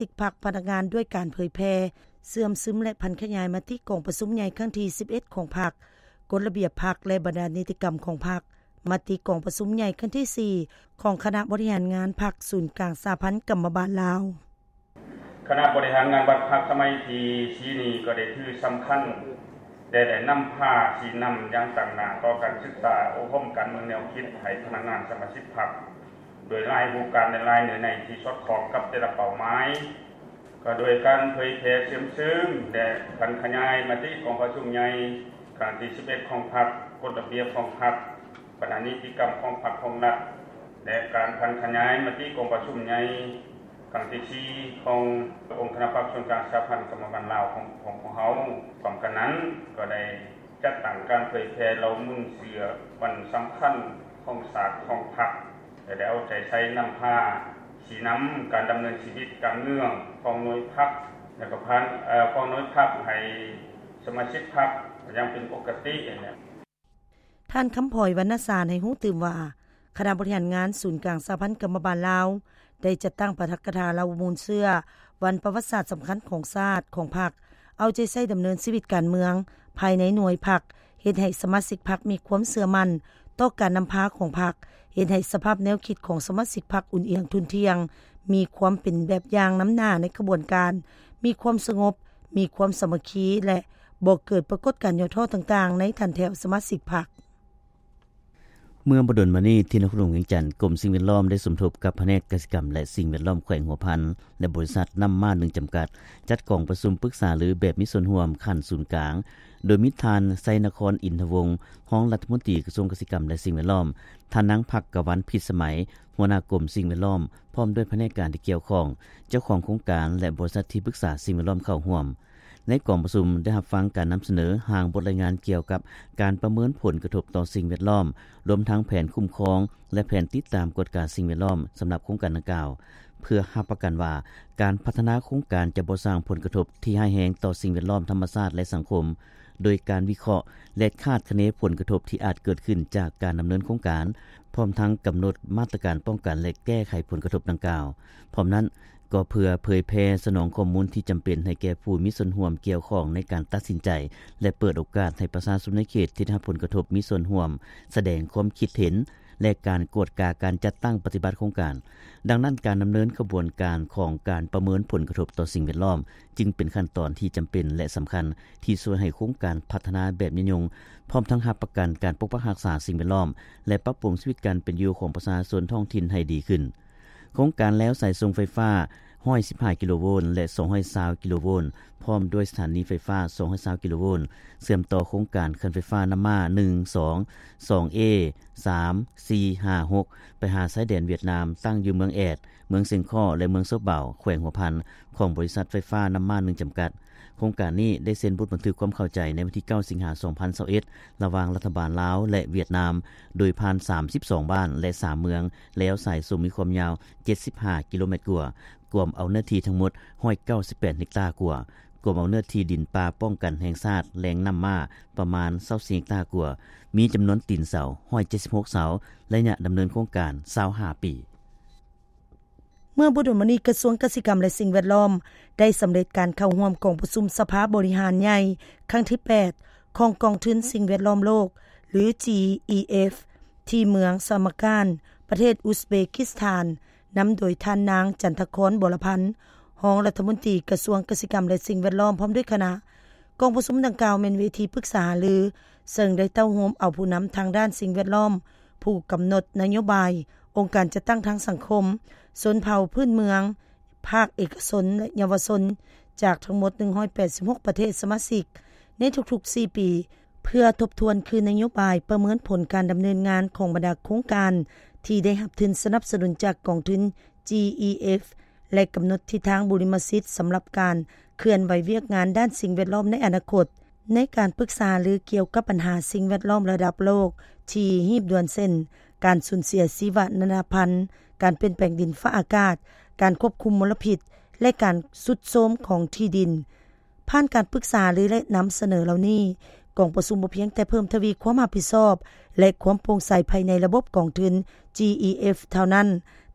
ຊິກພັກພະນັກງານດ້ວຍການເຜີຍແຜ່, ເຊື່ອມຊຶມ ແລະ ຜັນຂະຫຍາຍມະຕິກອງປະຊຸມໃຫຍ່ຄັ້ງທີສິບເອັດຂອງພັກ, ກົດລະບຽບພັກ ແລະ ບັນດານິຕິກຳຂອງພັກ, ມະຕິກອງປະຊຸມໃຫຍ່ຄັ້ງທີສີ່ຂອງຄະນະບໍລິຫານງານພັກສູນກາງສະຫະພັນກຳມະບານລາວ. ຄະນະບໍລິຫານງານພັກສະໄໝທີສີ່ນີ້ກໍໄດ້ຖືສຳຄັນ ແລະ ໄດ້ນຳພາຊີ້ນຳຢ່າງຕັ້ງໜ້າຕໍ່ການສຶກສາອົບຮົມການເມືອງແນວຄິດໃຫ້ພະນັກງານສະມາຊິກພັກ ໂດຍຫຼາຍຮູບການ ແລະ ຫຼາຍເນື້ອໃນທີ່ສອດຄ່ອງກັບແຕ່ລະເປົ້າໝາຍ, ກໍໂດຍການເຜີຍແຜ່ເຊື່ອມຊຶມ ແລະ ຜັນຂະຫຍາຍມະຕິກອງປະຊຸມໃຫຍ່ຄັ້ງທີສິບເອັດຂອງພັກ, ກົດລະບຽບຂອງພັກ, ບັນດານິຕິກຳຂອງພັກຂອງລັດ ແລະ ການຜັນຂະຫຍາຍມະຕິກອງປະຊຸມໃຫຍ່ຄັ້ງທີສີ່ຂອງອົງຄະນະພັກສູນກາງສະຫະພັນກຳມະບານລາວຂອງ ຂອງພວກເຮົາ. ພ້ອມກັນນັ້ນກໍໄດ້ຈັດຕັ້ງການເຜີຍແຜ່ເລົ່າມູນເຊື້ອວັນສຳຄັນຂອງຊາດຂອງພັກ ແລະ ໄດ້ເອົາໃຈໃສ່ນຳພາຊີ້ນຳການດຳເນີນຊີວິດການເມືອງຂອງໜ່ວຍພັກ ແລະ ກໍຜ່ານ ເອີ ຂອງໜ່ວຍພັກໃຫ້ສະມາຊິກພັກຢ່າງເປັນປົກກະຕິ. ທ່ານ ຄຳພອຍ ວັນນະສານ ໃຫ້ຮູ້ຕື່ມວ່າ ຄະນະບໍລິຫານງານສູນກາງສະຫະພັນກຳມະບານລາວ ໄດ້ຈັດຕັ້ງປາຖະກະຖາເລົ່າມູນເຊື້ອວັນປະຫວັດສາດສຳຄັນຂອງຊາດ, ຂອງພັກ, ເອົາໃຈໃສ່ດຳເນີນຊີວິດການເມືອງພາຍໃນໜ່ວຍພັກ, ເຮັດໃຫ້ສະມາຊິກພັກມີຄວາມເຊື່ອໝັ້ນຕໍ່ການນຳພາຂອງພັກ, ເຮັດໃຫ້ສະພາບແນວຄິດຂອງສະມາຊິກພັກອຸ່ນອຽງທຸ່ນທ່ຽງ, ມີຄວາມເປັນແບບຢ່າງນຳໜ້າໃນຂະບວນການ, ມີຄວາມສະຫງົບ, ມີຄວາມສາມັກຄີ ແລະ ບໍ່ເກີດປາກົດການຫຍໍ້ທໍ້ຕ່າງໆໃນຖັນແຖວສະມາຊິກພັກ. ເມື່ອບໍ່ດົນມານີ້ ທີ່ນະຄອນຫຼວງວຽງຈັນ, ກົມສິ່ງແວດລ້ອມໄດ້ສົມທົບກັບພະແນກກະສິກຳ ແລະ ສິ່ງແວດລ້ອມແຂວງຫົວພັນ ແລະ ບໍລິສັດນ້ຳມ້າໜຶ່ງຈຳກັດ ຈັດກອງປະຊຸມປຶກສາລືແບບມີສ່ວນຮ່ວມຂັ້ນສູນກາງ, ໂດຍມີທ່ານ ໄຊນະຄອນ ອິນທະວົງ ຮອງລັດຖະມົນຕີກະຊວງກະສິກຳ ແລະ ສິ່ງແວດລ້ອມ, ທ່ານນາງ ພັກກະວັນ ພິດສະໄໝ ຫົວໜ້າກົມສິ່ງແວດລ້ອມ ພ້ອມດ້ວຍພະແນກການທີ່ກ່ຽວຂ້ອງ, ເຈົ້າຂອງໂຄງການ ແລະ ບໍລິສັດທີ່ປຶກສາສິ່ງແວດລ້ອມເຂົ້າຮ່ວມ. ໃນກອງປະຊຸມໄດ້ຮັບຟັງການນຳສະເໜີຮ່າງບົດລາຍງານກ່ຽວກັບການປະເມີນຜົນກະທົບຕໍ່ສິ່ງແວດລ້ອມ, ລວມທັງແຜນຄຸ້ມຄອງ ແລະ ແຜນຕິດຕາມກວດກາສິ່ງແວດລ້ອມສຳລັບໂຄງການດັ່ງກ່າວ, ເພື່ອຮັບປະກັນວ່າການພັດທະນາໂຄງການຈະບໍ່ສ້າງຜົນກະທົບທີ່ຮ້າຍແຮງຕໍ່ສິ່ງແວດລ້ອມ, ທຳມະຊາດ ແລະ ສັງຄົມ, ໂດຍການວິເຄາະ ແລະ ຄາດຄະເນຜົນກະທົບທີ່ອາດເກີດຂຶ້ນຈາກການດຳເນີນໂຄງການ, ພ້ອມທັງກຳນົດມາດຕະການປ້ອງກັນ ແລະ ແກ້ໄຂຜົນກະທົບດັ່ງກ່າວ. ພ້ອມນັ້ນ, ກໍເພື່ອເຜີຍແຜ່ສະໜອງຂໍ້ມູນທີ່ຈຳເປັນໃຫ້ແກ່ຜູ້ມີສ່ວນຮ່ວມກ່ຽວຂ້ອງໃນການຕັດສິນໃຈ ແລະ ເປີດໂອກາດໃຫ້ປະຊາຊົນໃນເຂດທີ່ໄດ້ຮັບຜົນກະທົບມີສ່ວນຮ່ວມສະແດງຄວາມຄິດເຫັນ ແລະ ການກວດກາການຈັດຕັ້ງປະຕິບັດໂຄງການ. ດັ່ງນັ້ນ, ການດຳເນີນຂະບວນການຂອງການປະເມີນຜົນກະທົບຕໍ່ສິ່ງແວດລ້ອມ ຈຶ່ງເປັນຂັ້ນຕອນທີ່ຈຳເປັນ ແລະ ສຳຄັນ ທີ່ຊ່ວຍໃຫ້ໂຄງການພັດທະນາແບບຍືນຍົງ, ພ້ອມທັງຮັບປະກັນການປົກປັກຮັກສາສິ່ງແວດລ້ອມ ແລະ ປັບປຸງຊີວິດການເປັນຢູ່ຂອງປະຊາຊົນທ້ອງຖິ່ນໃຫ້ດີຂຶ້ນ. ໂຄງການແລວສາຍສົ່ງໄຟຟ້າ ໜຶ່ງຮ້ອຍສິບຫ້າ ກິໂລໂວນ ແລະ ສອງຮ້ອຍຊາວ ກິໂລໂວນ ພ້ອມດ້ວຍສະຖານີໄຟຟ້າ ສອງຮ້ອຍຊາວ ກິໂລໂວນ ເຊື່ອມຕໍ່ໂຄງການເຂື່ອນໄຟຟ້ານ້ຳມ້າ ໜຶ່ງ ສອງ ສອງເອ ສາມ ສີ່ ຫ້າ ຫົກ ໄປຫາຊາຍແດນຫວຽດນາມ ຕັ້ງຢູ່ເມືອງແອດ, ເມືອງຊຽງຄໍ້ ແລະ ເມືອງໂຊບາວ ແຂວງຫົວພັນ ຂອງບໍລິສັດໄຟຟ້ານ້ຳມ້າໜຶ່ງຈຳກັດ. ໂຄງການນີ້ໄດ້ເຊັນບົດບັນທຶກຄວາມເຂົ້າໃຈໃນວັນທີເກົ້າ ສິງຫາ ສອງພັນຊາວເອັດ ລະຫວ່າງລັດຖະບານລາວ ແລະ ຫວຽດນາມ, ໂດຍຜ່ານສາມສິບສອງບ້ານ ແລະ ສາມເມືອງ, ແລວສາຍສົ່ງມີຄວາມຍາວເຈັດສິບຫ້າກິໂລແມັດກວ່າ, ກວມເອົາເນື້ອທີ່ທັງໝົດຮ້ອຍເກົ້າສິບແປດເຮັກຕາກວ່າ, ກວມເອົາເນື້ອທີ່ດິນປ່າປ້ອງກັນແຫ່ງຊາດແຫຼ່ງນ້ຳມ້າປະມານຊາວສີ່ເຮັກຕາກວ່າ, ມີຈຳນວນຕີນເສົາຮ້ອຍເຈັດສິບຫົກເສົາ, ໄລຍະດຳເນີນໂຄງການຊາວຫ້າປີ. ເມື່ອບໍ່ດົນມານີ້ ກະຊວງກະສິກຳ ແລະ ສິ່ງແວດລ້ອມ ໄດ້ສຳເລັດການເຂົ້າຮ່ວມກອງປະຊຸມສະພາບໍລິຫານໃຫຍ່ຄັ້ງທີແປດ ຂອງກອງທຶນສິ່ງແວດລ້ອມໂລກ ຫຼື ຈີອີເອັຟ ທີ່ເມືອງສະມາການ ປະເທດອຸສເບກິສຖານ, ນຳໂດຍທ່ານນາງ ຈັນທະຄອນ ວໍລະພັນ ຮອງລັດຖະມົນຕີກະຊວງກະສິກຳ ແລະ ສິ່ງແວດລ້ອມ ພ້ອມດ້ວຍຄະນະ. ກອງປະຊຸມດັ່ງກ່າວແມ່ນເວທີປຶກສາຫາລື ເຊິ່ງໄດ້ເຕົ້າໂຮມເອົາຜູ້ນຳທາງດ້ານສິ່ງແວດລ້ອມ, ຜູ້ກຳນົດນະໂຍບາຍ, ອົງການຈັດຕັ້ງທາງສັງຄົມ, ຊົນເຜົ່າພື້ນເມືອງ, ພາກເອກະຊົນ ແລະ ເຍົາວະຊົນ ຈາກທັງໝົດໜຶ່ງຮ້ອຍແປດສິບຫົກປະເທດສະມາຊິກ ໃນທຸກໆສີ່ປີ ເພື່ອທົບທວນຄືນນະໂຍບາຍປະເມີນຜົນການດຳເນີນງານຂອງບັນດາໂຄງການທີ່ໄດ້ຮັບທຶນສະໜັບສະໜູນຈາກກອງທຶນ ຈີອີເອັຟ ແລະ ກຳນົດທິດທາງບຸລິມະສິດສຳລັບການເຄື່ອນໄຫວວຽກງານດ້ານສິ່ງແວດລ້ອມໃນອະນາຄົດ. ໃນການປຶກສາຫາລືກ່ຽວກັບບັນຫາສິ່ງແວດລ້ອມລະດັບໂລກທີ່ຮີບດ່ວນ ເຊັ່ນ ການສູນເສຍຊີວະນານາພັນ, ການປ່ຽນແປງດິນຟ້າອາກາດ, ການຄວບຄຸມມົນລະພິດ ແລະ ການຊຸດໂຊມຂອງທີ່ດິນ. ຜ່ານການປຶກສາຫາລື ແລະ ນຳສະເໜີເຫຼົ່ານີ້, ກອງປະຊຸມບໍ່ພຽງແຕ່ເພີ່ມທະວີຄວາມຮັບຜິດຊອບ ແລະ ຄວາມໂປ່ງໃສພາຍໃນລະບົບກອງທຶນ ຈີອີເອັຟ ເທົ່ານັ້ນ,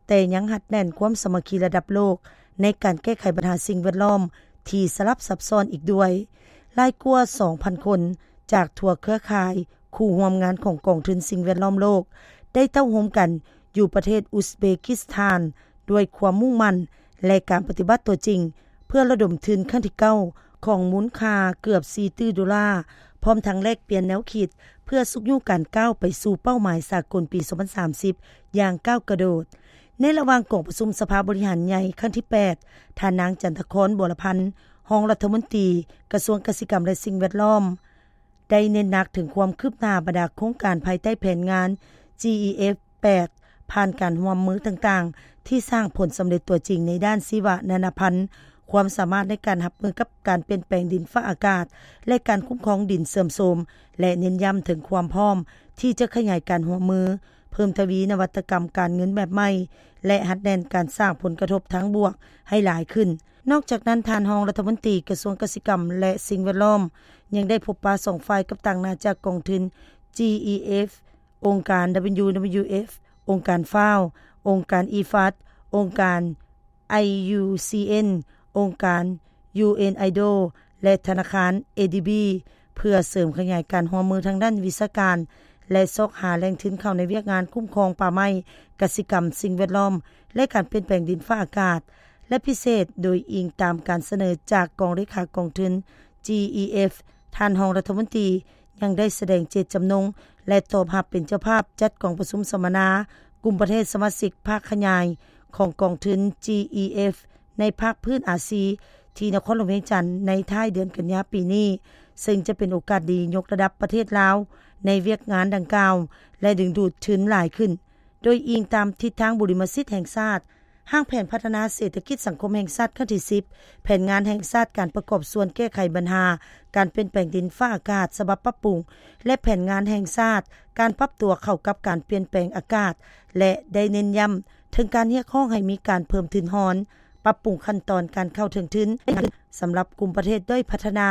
ແຕ່ຍັງຮັດແໜ້ນຄວາມສາມັກຄີລະດັບໂລກ ໃນການແກ້ໄຂບັນຫາສິ່ງແວດລ້ອມທີ່ສະຫຼັບຊັບຊ້ອນອີກດ້ວຍ. ຫຼາຍກວ່າສອງພັນຄົນຈາກທົ່ວເຄືອຂ່າຍຄູ່ຮ່ວມງານຂອງກອງທຶນສິ່ງແວດລ້ອມໂລກ ໄດ້ເຕົ້າໂຮມກັນຢູ່ປະເທດອຸສເບກິສຖານ ດ້ວຍຄວາມມຸ່ງໝັ້ນ ແລະ ການປະຕິບັດຕົວຈິງ ເພື່ອລະດົມທຶນຄັ້ງທີເກົ້າ ຂອງມູນຄ່າເກືອບສີ່ຕື້ໂດລາ, ພ້ອມທັງແລກປ່ຽນແນວຄິດ ເພື່ອຊຸກຍູ້ການກ້າວໄປສູ່ເປົ້າໝາຍສາກົນປີສອງພັນສາມສິບ ຢ່າງກ້າວກະໂດດ. ໃນລະຫວ່າງກອງປະຊຸມສະພາບໍລິຫານໃຫຍ່ຄັ້ງທີແປດ, ທ່ານນາງ ຈັນທະຄອນ ບົວລະພັນ ຮອງລັດຖະມົນຕີກະຊວງກະສິກຳ ແລະ ສິ່ງແວດລ້ອມ ໄດ້ເນັ້ນໜັກເຖິງຄວາມຄືບໜ້າບັນດາໂຄງການພາຍໃຕ້ແຜນງານ GEF ແປດ ຜ່ານການຮ່ວມມືຕ່າງໆ ທີ່ສ້າງຜົນສຳເລັດຕົວຈິງໃນດ້ານຊີວະນານາພັນ, ຄວາມສາມາດໃນການຮັບມືກັບການປ່ຽນແປງດິນຟ້າອາກາດ ແລະ ການຄຸ້ມຄອງດິນເສື່ອມໂຊມ ແລະ ເນັ້ນຢ້ຳເຖິງຄວາມພ້ອມທີ່ຈະຂະຫຍາຍການຮ່ວມມື, ເພີ່ມທະວີນະວັດຕະກຳການເງິນແບບໃໝ່ ແລະ ຮັດແໜ້ນການສ້າງຜົນກະທົບທາງບວກໃຫ້ຫຼາຍຂຶ້ນ. ນອກຈາກນັ້ນ, ທ່ານຮອງລັດຖະມົນຕີກະຊວງກະສິກຳ ແລະ ສິ່ງແວດລ້ອມ ຍັງໄດ້ພົບປະສອງຝ່າຍກັບຕາງໜ້າຈາກກອງທຶນ GEF, ອົງການ WWF, ອົງການ FAO, ອົງການ IFAD, ອົງການ IUCN, ອົງການ UNIDO ແລະ ທະນາຄານ ADB ເພື່ອເສີມຂະຫຍາຍການຮ່ວມມືທາງດ້ານວິຊາການ ແລະ ຊອກຫາແຫຼ່ງທຶນເຂົ້າໃນວຽກງານຄຸ້ມຄອງປ່າໄມ້, ກະສິກຳ, ສິ່ງແວດລ້ອມ ແລະ ການປ່ຽນແປງດິນຟ້າອາກາດ ແລະ ພິເສດ ໂດຍອີງຕາມການສະເໜີຈາກກອງເລຂາກອງທຶນ GEF, ທ່ານຮອງລັດຖະມົນຕີຍັງໄດ້ສະແດງເຈດຈຳນົງ ແລະ ຕອບຮັບເປັນເຈົ້າພາບຈັດກອງປະຊຸມສຳມະນາກຸ່ມປະເທດສະມາຊິກພາກຂະຫຍາຍຂອງກອງທຶນ GEF ໃນພາກພື້ນອາຊີ ທີ່ນະຄອນຫຼວງວຽງຈັນ ໃນທ້າຍເດືອນກັນຍາປີນີ້, ເຊິ່ງຈະເປັນໂອກາດດີຍົກລະດັບປະເທດລາວໃນວຽກງານດັ່ງກ່າວ ແລະ ດຶງດູດທຶນຫຼາຍຂຶ້ນ. ໂດຍອີງຕາມທິດທາງບຸລິມະສິດແຫ່ງຊາດ, ຮ່າງແຜນພັດທະນາເສດຖະກິດສັງຄົມແຫ່ງຊາດຄັ້ງທີສິບ, ແຜນງານແຫ່ງຊາດການປະກອບສ່ວນແກ້ໄຂບັນຫາການປ່ຽນແປງດິນຟ້າອາກາດສະບັບປັບປຸງ ແລະ ແຜນງານແຫ່ງຊາດການປັບຕົວເຂົ້າກັບການປ່ຽນແປງອາກາດ ແລະ ໄດ້ເນັ້ນຢ້ຳເຖິງການຮຽກຮ້ອງໃຫ້ມີການເພີ່ມທຶນຮອນ, ປັບປຸງຂັ້ນຕອນການເຂົ້າເຖິງທຶນສຳລັບກຸ່ມປະເທດດ້ອຍພັດທະນາ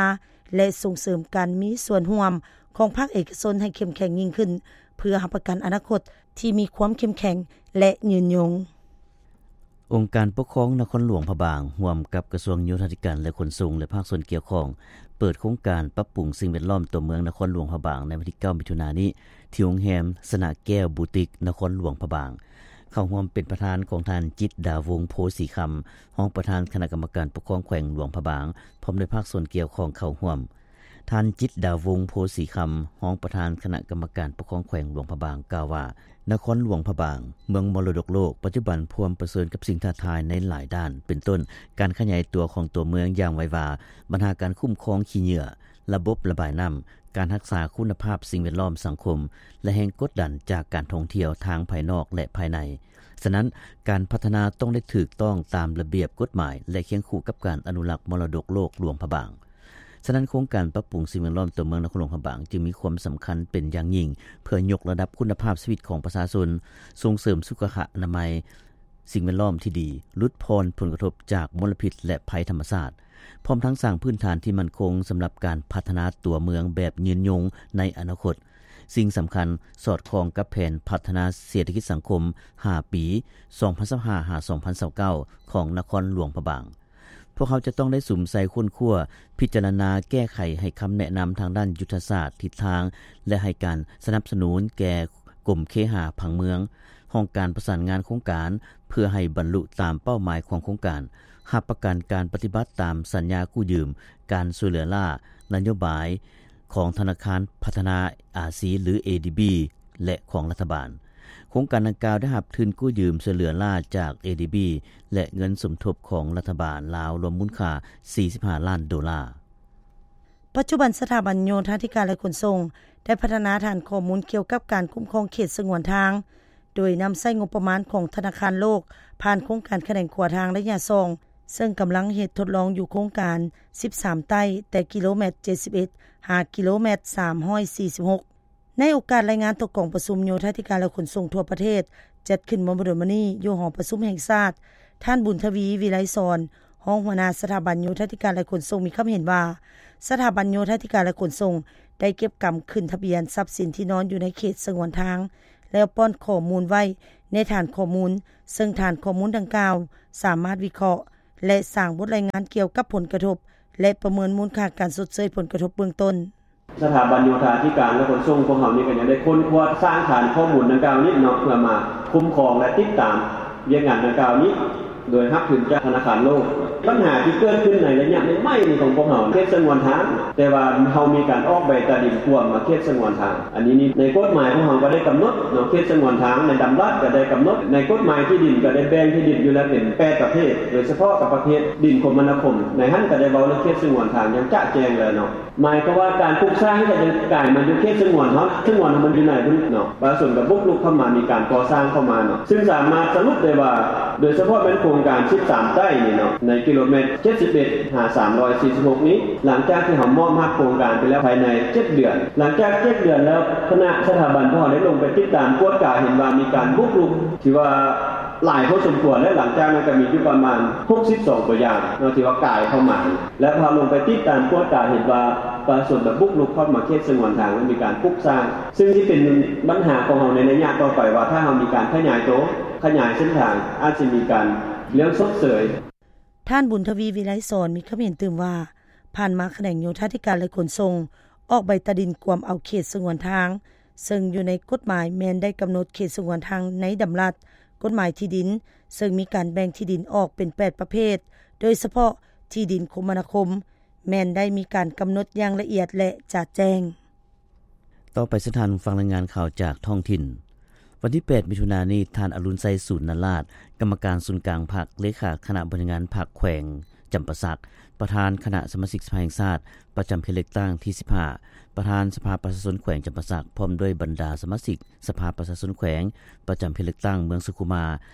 ແລະ ສົ່ງເສີມການມີສ່ວນຮ່ວມຂອງພາກເອກະຊົນໃຫ້ເຂັ້ມແຂງຍິ່ງຂຶ້ນ ເພື່ອຮັບປະກັນອະນາຄົດທີ່ມີຄວາມເຂັ້ມແຂງ ແລະ ຍືນຍົງ. ອົງການປົກຄອງນະຄອນຫຼວງພະບາງ ຮ່ວມກັບກະຊວງໂຍທາທິການ ແລະ ຂົນສົ່ງ ແລະ ພາກສ່ວນກ່ຽວຂ້ອງ ເປີດໂຄງການປັບປຸງສິ່ງແວດລ້ອມຕົວເມືອງນະຄອນຫຼວງພະບາງ ໃນວັນທີເກົ້າ ມິຖຸນານີ້ ທີ່ໂຮງແຮມຊະນະແກ້ວບູຕິກ ນະຄອນຫຼວງພະບາງ. ເຂົ້າຮ່ວມເປັນປະທານຂອງທ່ານ ຈິດດາວົງ ໂພສີຄຳ ຮອງປະທານຄະນະກຳມະການປົກຄອງແຂວງຫຼວງພະບາງ ພ້ອມດ້ວຍພາກສ່ວນກ່ຽວຂ້ອງເຂົ້າຮ່ວມ. ທ່ານ ຈິດດາວົງ ໂພສີຄຳ ຮອງປະທານຄະນະກຳມະການປົກຄອງແຂວງຫຼວງພະບາງ ກ່າວວ່າ ນະຄອນຫຼວງພະບາງ ເມືອງມໍລະດົກໂລກ ປັດຈຸບັນພວມປະເຊີນກັບສິ່ງທ້າທາຍໃນຫຼາຍດ້ານ ເປັນຕົ້ນ ການຂະຫຍາຍຕົວຂອງຕົວເມືອງຢ່າງໄວວາ, ບັນຫາການຄຸ້ມຄອງຂີ້ເຫຍື້ອ, ລະບົບລະບາຍນ້ຳ, ການຮັກສາຄຸນນະພາບສິ່ງແວດລ້ອມ, ສັງຄົມ ແລະ ແຮງກົດດັນຈາກການທ່ອງທ່ຽວທາງພາຍນອກ ແລະ ພາຍໃນ. ສະນັ້ນ, ການພັດທະນາຕ້ອງໄດ້ຖືກຕ້ອງຕາມລະບຽບກົດໝາຍ ແລະ ຄຽງຄູ່ກັບການອະນຸລັກມໍລະດົກໂລກຫຼວງພະບາງ. ສະນັ້ນ, ໂຄງການປັບປຸງສິ່ງແວດລ້ອມຕົວເມືອງນະຄອນຫຼວງພະບາງ ຈຶ່ງມີຄວາມສຳຄັນເປັນຢ່າງຍິ່ງ ເພື່ອຍົກລະດັບຄຸນນະພາບຊີວິດຂອງປະຊາຊົນ, ສົ່ງເສີມສຸຂະອະນາໄມ, ສິ່ງແວດລ້ອມທີ່ດີ, ຫຼຸດຜ່ອນຜົນກະທົບຈາກມົນລະພິດ ແລະ ໄພທຳມະຊາດ, ພ້ອມທັງສ້າງພື້ນຖານທີ່ໝັ້ນຄົງສຳລັບການພັດທະນາຕົວເມືອງແບບຍືນຍົງໃນອະນາຄົດ. ສິ່ງສຳຄັນ, ສອດຄ່ອງກັບແຜນພັດທະນາເສດຖະກິດສັງຄົມຫ້າປີ ສອງພັນຊາວຫ້າ ຫາ ສອງພັນຊາວເກົ້າ ຂອງນະຄອນຫຼວງພະບາງ. ພວກເຮົາຈະຕ້ອງໄດ້ສຸມໃສ່ຄົ້ນຄວ້າ, ພິຈາລະນາແກ້ໄຂໃຫ້ຄຳແນະນຳທາງດ້ານຍຸດທະສາດ, ທິດທາງ ແລະ ໃຫ້ການສະໜັບສະໜູນແກ່ກົມເຄຫາຜັງເມືອງ, ຫ້ອງການປະສານງານໂຄງການ ເພື່ອໃຫ້ບັນລຸຕາມເປົ້າໝາຍຂອງໂຄງການ, ຮັບປະກັນການປະຕິບັດຕາມສັນຍາກູ້ຢືມ, ການຊ່ວຍເຫຼືອລ້າ, ນະໂຍບາຍຂອງທະນາຄານພັດທະນາອາຊີ ຫຼື ເອດີບີ ແລະ ຂອງລັດຖະບານ. ໂຄງການດັ່ງກ່າວໄດ້ຮັບທຶນກູ້ຢືມຊ່ວຍເຫຼືອລ້າຈາກ ເອດີບີ ແລະ ເງິນສົມທົບຂອງລັດຖະບານລາວ ລວມມູນຄ່າສີ່ສິບຫ້າລ້ານໂດລາ. ປັດຈຸບັນ, ສະຖາບັນໂຍທາທິການ ແລະ ຂົນສົ່ງ ໄດ້ພັດທະນາຖານຂໍ້ມູນກ່ຽວກັບການຄຸ້ມຄອງເຂດສະຫງວນທາງ ໂດຍນຳໃຊ້ງົບປະມານຂອງທະນາຄານໂລກ ຜ່ານໂຄງການຂະແໜງຂົວທາງໄລຍະສອງ ເຊິ່ງກຳລັງເຮັດທົດລອງຢູ່ໂຄງການສິບສາມໃຕ້ ແຕ່ກິໂລແມັດເຈັດສິບເອັດ ຫາກິໂລແມັດສາມຮ້ອຍສີ່ສິບຫົກ. ໃນໂອກາດລາຍງານຕໍ່ກອງປະຊຸມໂຍທາທິການ ແລະ ຂົນສົ່ງທົ່ວປະເທດ ຈັດຂຶ້ນເມື່ອບໍ່ດົນມານີ້ຢູ່ຫໍປະຊຸມແຫ່ງຊາດ, ທ່ານ ບຸນທະວີ ວິໄລສອນ ຮອງຫົວໜ້າສະຖາບັນໂຍທາທິການ ແລະ ຂົນສົ່ງ ມີຄຳເຫັນວ່າ ສະຖາບັນໂຍທາທິການ ແລະ ຂົນສົ່ງ ໄດ້ເກັບກຳຂຶ້ນທະບຽນຊັບສິນທີ່ນອນຢູ່ໃນເຂດສະຫງວນທາງ ແລ້ວປ້ອນຂໍ້ມູນໄວ້ໃນຖານຂໍ້ມູນ, ເຊິ່ງຖານຂໍ້ມູນດັ່ງກ່າວສາມາດວິເຄາະ ແລະ ສ້າງບົດລາຍງານກ່ຽວກັບຜົນກະທົບ ແລະ ປະເມີນມູນຄ່າການຊົດເຊີຍຜົນກະທົບເບື້ອງຕົ້ນ. ສະຖາບັນໂຍທາທິການ ແລະ ຂົນສົ່ງພວກເຮົານີ້ກໍຍັງໄດ້ຄົ້ນຄວ້າສ້າງຖານຂໍ້ມູນດັ່ງກ່າວນີ້ເນາະ ເພື່ອມາຄຸ້ມຄອງ ແລະ ຕິດຕາມວຽກງານດັ່ງກ່າວນີ້ ໂດຍຮັບທຶນຈາກທະນາຄານໂລກ. ບັນຫາທີ່ເກີດຂຶ້ນໃນໄລຍະໃໝ່ໆນີ້ຂອງພວກເຮົາ ເຂດສະຫງວນທາງ ແຕ່ວ່າເຮົາມີການອອກໃບຕາດິນກວມມາເຂດສະຫງວນທາງ. ອັນນີ້ນີ້ໃນກົດໝາຍຂອງເຮົາກໍໄດ້ກຳນົດເນາະ ເຂດສະຫງວນທາງໃນດຳລັດກໍໄດ້ກຳນົດ ໃນກົດໝາຍທີ່ດິນກໍໄດ້ແບ່ງທີ່ດິນຢູ່ແລ້ວເປັນແປດປະເພດ ໂດຍສະເພາະກັບປະເພດດິນຄົມມະນາຄົມ ໃນຫັ້ນກໍໄດ້ເວົ້າເລື່ອງເຂດສະຫງວນທາງຢ່າງຈະແຈ້ງແລ້ວເນາະ. ໝາຍຄວາມວ່າການປຸກສ້າງນີ້ກໍຍັງກາຍມາຢູ່ເຂດສະຫງວນເຮົາ ສະຫງວນເຮົາມັນຢູ່ໃນພຸ້ນເນາະ ປະຊາຊົນກໍບຸກລຸກເຂົ້າມາ ມີການກໍ່ສ້າງເຂົ້າມາເນາະ ຊຶ່ງສາມາດສະຫຼຸບໄດ້ວ່າ ໂດຍສະເພາະແມ່ນໂຄງການສິບສາມໃຕ້ນີ້ເນາະ ໃນກິໂລແມັດເຈັດສິບເອັດຫາສາມຮ້ອຍສີ່ສິບຫົກນີ້ ຫຼັງຈາກທີ່ເຮົາມອບຮັບໂຄງການໄປແລ້ວພາຍໃນເຈັດເດືອນ ຫຼັງຈາກເຈັດເດືອນແລ້ວ ຄະນະສະຖາບັນພວກເຮົາໄດ້ລົງໄປຕິດຕາມກວດກາ ເຫັນວ່າມີການບຸກລຸກທີ່ວ່າ ຫຼາຍພໍສົມຄວນ ແລະ ຫຼັງຈາກນັ້ນກໍມີຢູ່ປະມານຫົກສິບສອງຕົວຢ່າງເນາະ ທີ່ວ່າກາຍເຂົ້າມາ ແລະ ພາລົງໄປຕິດຕາມກວດກາ ເຫັນວ່າປະຊາຊົນໄດ້ບຸກລຸກເຂົ້າມາເຂດສະຫງວນທາງ ແລະ ມີການປຸກສ້າງ ຊຶ່ງຊິເປັນບັນຫາຂອງເຮົາໃນໄລຍະຕໍ່ໄປວ່າ ຖ້າເຮົາມີການຂະຫຍາຍໂຕ ຂະຫຍາຍເສັ້ນທາງ ອາດຊິມີການເລື່ອງຊົດເຊີຍ. ທ່ານ ບຸນທະວີ ວິໄລສອນ ມີຄຳເຫັນຕື່ມວ່າ ຜ່ານມາຂະແໜງໂຍທາທິການ ແລະ ຂົນສົ່ງ ອອກໃບຕາດິນກວມເອົາເຂດສະຫງວນທາງ ເຊິ່ງຢູ່ໃນກົດໝາຍແມ່ນໄດ້ກຳນົດເຂດສະຫງວນທາງໃນດຳລັດກົດໝາຍທີ່ດິນ ເຊິ່ງມີການແບ່ງທີ່ດິນອອກເປັນແປດປະເພດ ໂດຍສະເພາະທີ່ດິນຄົມມະນາຄົມ ແມ່ນໄດ້ມີການກຳນົດຢ່າງລະອຽດ ແລະ ຈະແຈ້ງ. ຕໍ່ໄປເຊີນທ່ານຟັງລາຍງານຂ່າວຈາກທ້ອງຖິ່ນ. ວັນທີແປດ ມິຖຸນານີ້ ທ່ານ ອະລຸນໄຊ ສູນນະລາດ ກຳມະການສູນກາງພັກ, ເລຂາຄະນະບໍລິຫານງານພັກແຂວງຈຳປາສັກ, ປະທານຄະນະສະມາຊິກສະພາແຫ່ງຊາດ ປະຈຳເຂດເລືອກຕັ້ງທີສິບຫ້າ, ປະທານສະພາປະຊາຊົນແຂວງຈຳປາສັກ ພ້ອມດ້ວຍບັນດາສະມາຊິກສະພາປະຊາຊົນແຂວງ ປະຈຳເຂດເລືອກຕັ້ງເມືອງສຸຂຸມາ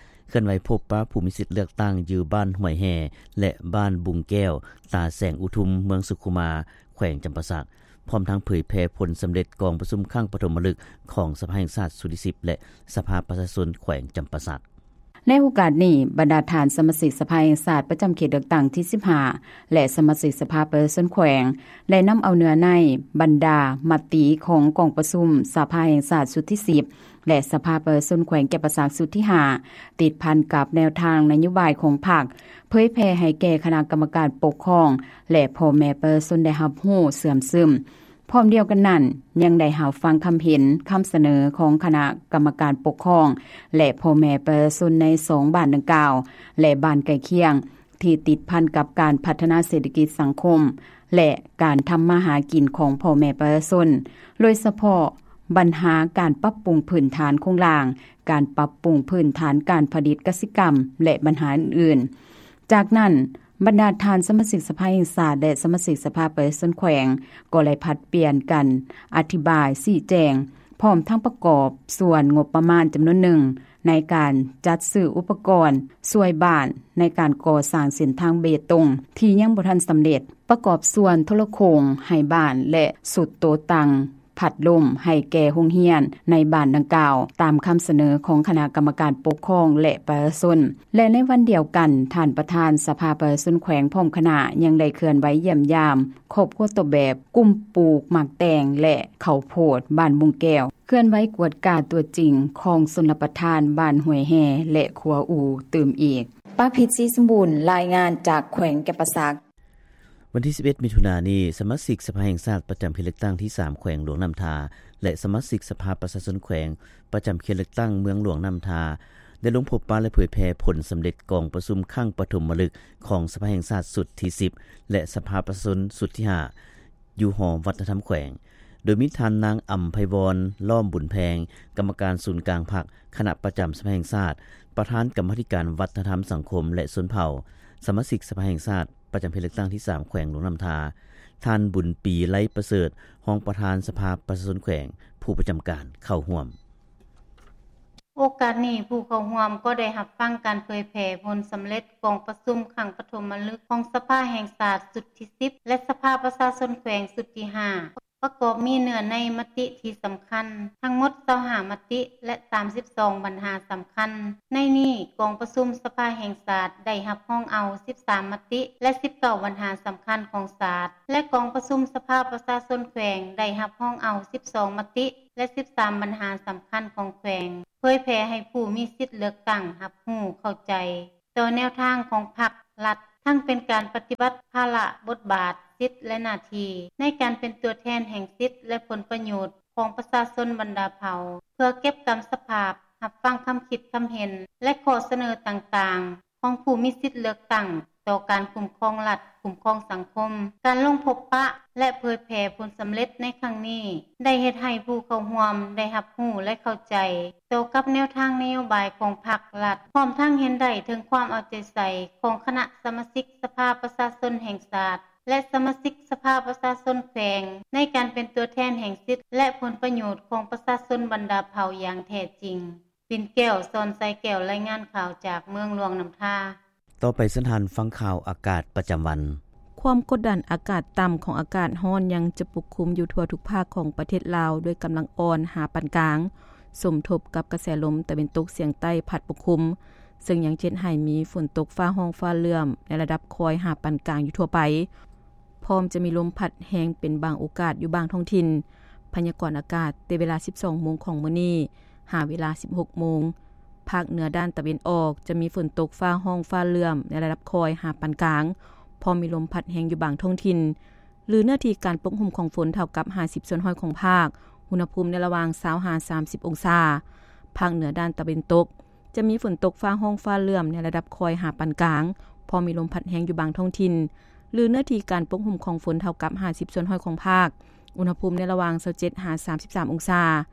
ເຄື່ອນໄຫວພົບປະຜູ້ມີສິດເລືອກຕັ້ງຢູ່ບ້ານຫ້ວຍແຮ່ ແລະ ບ້ານບຸງແກ້ວ ຕາແສງອຸທຸມ ເມືອງສຸຂຸມາ ແຂວງຈຳປາສັກ ພ້ອມທັງເຜີຍແຜ່ຜົນສຳເລັດກອງປະຊຸມຄັ້ງປະຖົມມະລຶກຂອງສະພາແຫ່ງຊາດຊຸດທີສິບ ແລະ ສະພາປະຊາຊົນແຂວງຈຳປາສັກ. ໃນໂອກາດນີ້, ບັນດາທ່ານສະມາຊິກສະພາແຫ່ງຊາດປະຈຳເຂດເລືອກຕັ້ງທີສິບຫ້າ ແລະ ສະມາຊິກສະພາປະຊາຊົນແຂວງ ໄດ້ນຳເອົາເນື້ອໃນບັນດາມະຕິຂອງກອງປະຊຸມສະພາແຫ່ງຊາດຊຸດທີສິບ ແລະ ສະພາປະຊາຊົນແຂວງຈຳປາສັກຊຸດທີຫ້າ ຕິດພັນກັບແນວທາງນະໂຍບາຍຂອງພັກ ເຜີຍແຜ່ໃຫ້ແກ່ຄະນະກຳມະການປົກຄອງ ແລະ ພໍ່ແມ່ປະຊາຊົນໄດ້ຮັບຮູ້ເຊື່ອມຊຶມ. ພ້ອມດຽວກັນນັ້ນ, ຍັງໄດ້ຮັບຟັງຄຳເຫັນ, ຄຳສະເໜີຂອງຄະນະກຳມະການປົກຄອງ ແລະ ພໍ່ແມ່ປະຊາຊົນໃນສອງບ້ານດັ່ງກ່າວ ແລະ ບ້ານໃກ້ຄຽງ ທີ່ຕິດພັນກັບການພັດທະນາເສດຖະກິດສັງຄົມ ແລະ ການທຳມາຫາກິນຂອງພໍ່ແມ່ປະຊາຊົນ, ໂດຍສະເພາະບັນຫາການປັບປຸງພື້ນຖານໂຄງລ່າງ, ການປັບປຸງພື້ນຖານການຜະລິດກະສິກຳ ແລະ ບັນຫາອື່ນໆ. ຈາກນັ້ນ, ບັນດາທ່ານສະມາຊິກສະພາແຫ່ງຊາດ ແລະ ສະມາຊິກສະພາປະຊາຊົນແຂວງ ກໍໄດ້ຜັດປ່ຽນກັນອະທິບາຍຊີ້ແຈງ ພ້ອມທັງປະກອບສ່ວນງົບປະມານຈຳນວນໜຶ່ງ ໃນການຈັດຊື້ອຸປະກອນຊ່ວຍບ້ານໃນການກໍ່ສ້າງເສັ້ນທາງເບຕົງທີ່ຍັງບໍ່ທັນສຳເລັດ, ປະກອບສ່ວນໂທລະໂຄ່ງໃຫ້ບ້ານ ແລະ ຊຸດໂຕະຕັ່ງພັດລົມໃຫ້ແກ່ໂຮງຮຽນໃນບ້ານດັ່ງກ່າວ, ຕາມຄຳສະເໜີຂອງຄະນະກຳມະການປົກຄອງ ແລະ ປະຊາຊົນ. ແລະ ໃນວັນດຽວກັນ, ທ່ານປະທານສະພາປະຊາຊົນແຂວງພ້ອມຄະນະ ຍັງໄດ້ເຄື່ອນໄຫວຢ້ຽມຢາມຄອບຄົວຕົ້ນແບບກຸ່ມປູກໝາກແຕງ ແລະ ເຂົ້າໂພດບ້ານບຸງແກ້ວ, ເຄື່ອນໄຫວກວດກາຕົວຈິງຂອງຊົນລະປະທານບ້ານຫ້ວຍແຮ່ ແລະ ຂົວອູ່ຕື່ມອີກ. ປາພິດ ສີສົມບູນ ລາຍງານຈາກແຂວງຈຳປາສັກ. ວັນທີສິບເອັດ ມິຖຸນານີ້, ສະມາຊິກສະພາແຫ່ງຊາດປະຈຳເຂດເລືອກຕັ້ງທີສາມ ແຂວງຫຼວງນ້ຳທາ ແລະ ສະມາຊິກສະພາປະຊາຊົນແຂວງປະຈຳເຂດເລືອກຕັ້ງເມືອງຫຼວງນ້ຳທາ ໄດ້ລົງພົບປະ ແລະ ເຜີຍແຜ່ຜົນສຳເລັດກອງປະຊຸມຄັ້ງປະຖົມມະລຶກຂອງສະພາແຫ່ງຊາດຊຸດທີສິບ ແລະ ສະພາປະຊາຊົນຊຸດທີຫ້າ ຢູ່ຫໍວັດທະນະທຳແຂວງ, ໂດຍມີທ່ານນາງ ອຳໄພວອນ ລ້ອມບຸນແພງ ກຳມະການສູນກາງພັກ ຄະນະປະຈຳສະພາແຫ່ງຊາດ, ປະທານກຳມາທິການວັດທະນະທຳ, ສັງຄົມ ແລະ ຊົນເຜົ່າ, ສະມາຊິກສະພາແຫ່ງຊາດ ປະຈຳເຂດເລືອກຕັ້ງທີສາມ ແຂວງຫຼວງນ້ຳທາ, ທ່ານ ບຸນປີ ໄລປະເສີດ ຮອງປະທານສະພາປະຊາຊົນແຂວງ ຜູ້ປະຈຳການເຂົ້າຮ່ວມ. ໂອກາດນີ້, ຜູ້ເຂົ້າຮ່ວມກໍໄດ້ຮັບຟັງການເຜີຍແຜ່ຜົນສຳເລັດກອງປະຊຸມຄັ້ງປະຖົມມະລຶກຂອງສະພາແຫ່ງຊາດຊຸດທີສິບ ແລະ ສະພາປະຊາຊົນແຂວງຊຸດທີຫ້າ ປະກອບມີເນື້ອໃນມະຕິທີ່ສຳຄັນ ທັງໝົດຊາວຫ້າມະຕິ ແລະ ສາມສິບສອງບັນຫາສຳຄັນ. ໃນນີ້, ກອງປະຊຸມສະພາແຫ່ງຊາດໄດ້ຮັບຮອງເອົາສິບສາມມະຕິ ແລະ ສິບເກົ້າບັນຫາສຳຄັນຂອງຊາດ ແລະ ກອງປະຊຸມສະພາປະຊາຊົນແຂວງໄດ້ຮັບຮອງເອົາສິບສອງມະຕິ ແລະ ສິບສາມບັນຫາສຳຄັນຂອງແຂວງ, ເຜີຍແຜ່ໃຫ້ຜູ້ມີສິດເລືອກຕັ້ງຮັບຮູ້ເຂົ້າໃຈ ຕໍ່ແນວທາງຂອງພັກ, ລັດ ທັງເປັນການປະຕິບັດພາລະ, ບົດບາດ, ສິດ ແລະ ໜ້າທີ່ ໃນການເປັນຕົວແທນແຫ່ງສິດ ແລະ ຜົນປະໂຫຍດຂອງປະຊາຊົນບັນດາເຜົ່າ ເພື່ອເກັບກຳສະພາບ, ຮັບຟັງຄຳຄິດຄຳເຫັນ ແລະ ຂໍ້ສະເໜີຕ່າງໆ ຂອງຜູ້ມີສິດເລືອກຕັ້ງ ຕໍ່ການຄຸ້ມຄອງລັດ, ຄຸ້ມຄອງສັງຄົມ, ການລົງພົບປະ ແລະ ເຜີຍແຜ່ຜົນສຳເລັດໃນຄັ້ງນີ້ ໄດ້ເຮັດໃຫ້ຜູ້ເຂົ້າຮ່ວມໄດ້ຮັບຮູ້ ແລະ ເຂົ້າໃຈຕໍ່ກັບແນວທາງນະໂຍບາຍຂອງພັກລັດ, ພ້ອມທັງເຫັນໄດ້ເຖິງຄວາມເອົາໃຈໃສ່ຂອງຄະນະສະມາຊິກສະພາປະຊາຊົນແຫ່ງຊາດ ແລະ ສະມາຊິກສະພາປະຊາຊົນແຂວງ ໃນການເປັນຕົວແທນແຫ່ງສິດ ແລະ ຜົນປະໂຫຍດຂອງປະຊາຊົນບັນດາເຜົ່າຢ່າງແທ້ຈິງ. ປິ່ນແກ້ວ ສອນໄຊແກ້ວ ລາຍງານຂ່າວຈາກເມືອງຫຼວງນ້ຳທາ. ຕໍ່ໄປເຊີນທ່ານຟັງຂ່າວອາກາດປະຈຳວັນ. ຄວາມກົດດັນອາກາດຕ່ຳຂອງອາກາດຮ້ອນຍັງຈະປົກຄຸມຢູ່ທົ່ວທຸກພາກຂອງປະເທດລາວ ດ້ວຍກຳລັງອ່ອນຫາປານກາງ, ສົມທົບກັບກະແສລົມຕາເວັນຕົກສຽງໃຕ້ພັດປົກຄຸມ, ເຊິ່ງຍັງເຮັດໃຫ້ມີຝົນຕົກຟ້າຮ້ອງຟ້າເຫຼື້ອມໃນລະດັບຄ່ອຍຫາປານກາງຢູ່ທົ່ວໄປ. ພ້ອມຈະມີລົມພັດແຮງເປັນບາງໂອກາດຢູ່ບາງທ້ອງຖິ່ນ. ພະຍາກອນອາກາດແຕ່ເວລາສິບສອງໂມງຂອງມື້ນີ້ ຫາເວລາສິບຫົກໂມງ, ພາກເໜືອດ້ານຕາເວັນອອກຈະມີຝົນຕົກຟ້າຮ້ອງຟ້າເຫຼື້ອມໃນລະດັບຄ່ອຍຫາປານກາງ, ພ້ອມມີລົມພັດແຮງຢູ່ບາງທ້ອງຖິ່ນ, ຫຼືເນື້ອທີ່ການປົກຫຸ້ມຂອງຝົນເທົ່າກັບຫ້າສິບສ່ວນຮ້ອຍຂອງພາກ, ອຸນຫະພູມໃນລະຫວ່າງຊາວຫາສາມສິບອົງສາ. ພາກເໜືອດ້ານຕາເວັນຕົກ ຈະມີຝົນຕົກຟ້າຮ້ອງຟ້າເຫຼື້ອມໃນລະດັບຄ່ອຍຫາປານກາງ, ພ້ອມມີລົມພັດແຮງຢູ່ບາງທ້ອງຖິ່ນ, ຫຼືເນື້ອທີ່ການປົກຫຸ້ມຂອງຝົນເທົ່າກັບຫ້າສິບສ່ວນຮ້ອຍຂອງພາກ, ອຸນຫະພູມໃນລະຫວ່າງຊາວເຈັດຫາສາມສິບສາມອົງສາ.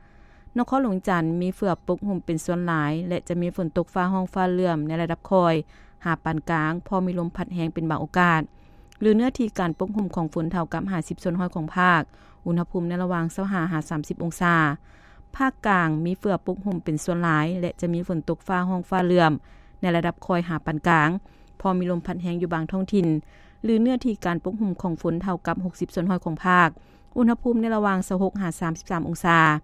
ນະຄອນຫຼວງວຽງຈັນ ມີເຝືອປົກຫຸ້ມເປັນສ່ວນຫຼາຍ ແລະ ຈະມີຝົນຕົກຟ້າຮ້ອງຟ້າເຫຼື້ອມໃນລະດັບຄ່ອຍຫາປານກາງ, ພ້ອມມີລົມພັດແຮງເປັນບາງໂອກາດ, ຫຼືເນື້ອທີ່ການປົກຫຸ້ມຂອງຝົນເທົ່າກັບຫ້າສິບສ່ວນຮ້ອຍຂອງພາກ, ອຸນຫະພູມໃນລະຫວ່າງຊາວຫ້າຫາສາມສິບອົງສາ. ພາກກາງ ມີເຝືອປົກຫຸ້ມເປັນສ່ວນຫຼາຍ ແລະ ຈະມີຝົນຕົກຟ້າຮ້ອງຟ້າເຫຼື້ອມໃນລະດັບຄ່ອຍຫາປານກາງ, ພ້ອມມີລົມພັດແຮງຢູ່ບາງທ້ອງຖິ່ນ, ຫຼືເນື້ອທີ່ການປົກຫຸ້ມຂອງຝົນເທົ່າກັບຫົກສິບສ່ວນຮ້ອຍຂອງພາກ, ອຸນຫະພູມໃນລະຫວ່າງຊາວຫົກຫາສາມສິບສາມອົງສາ.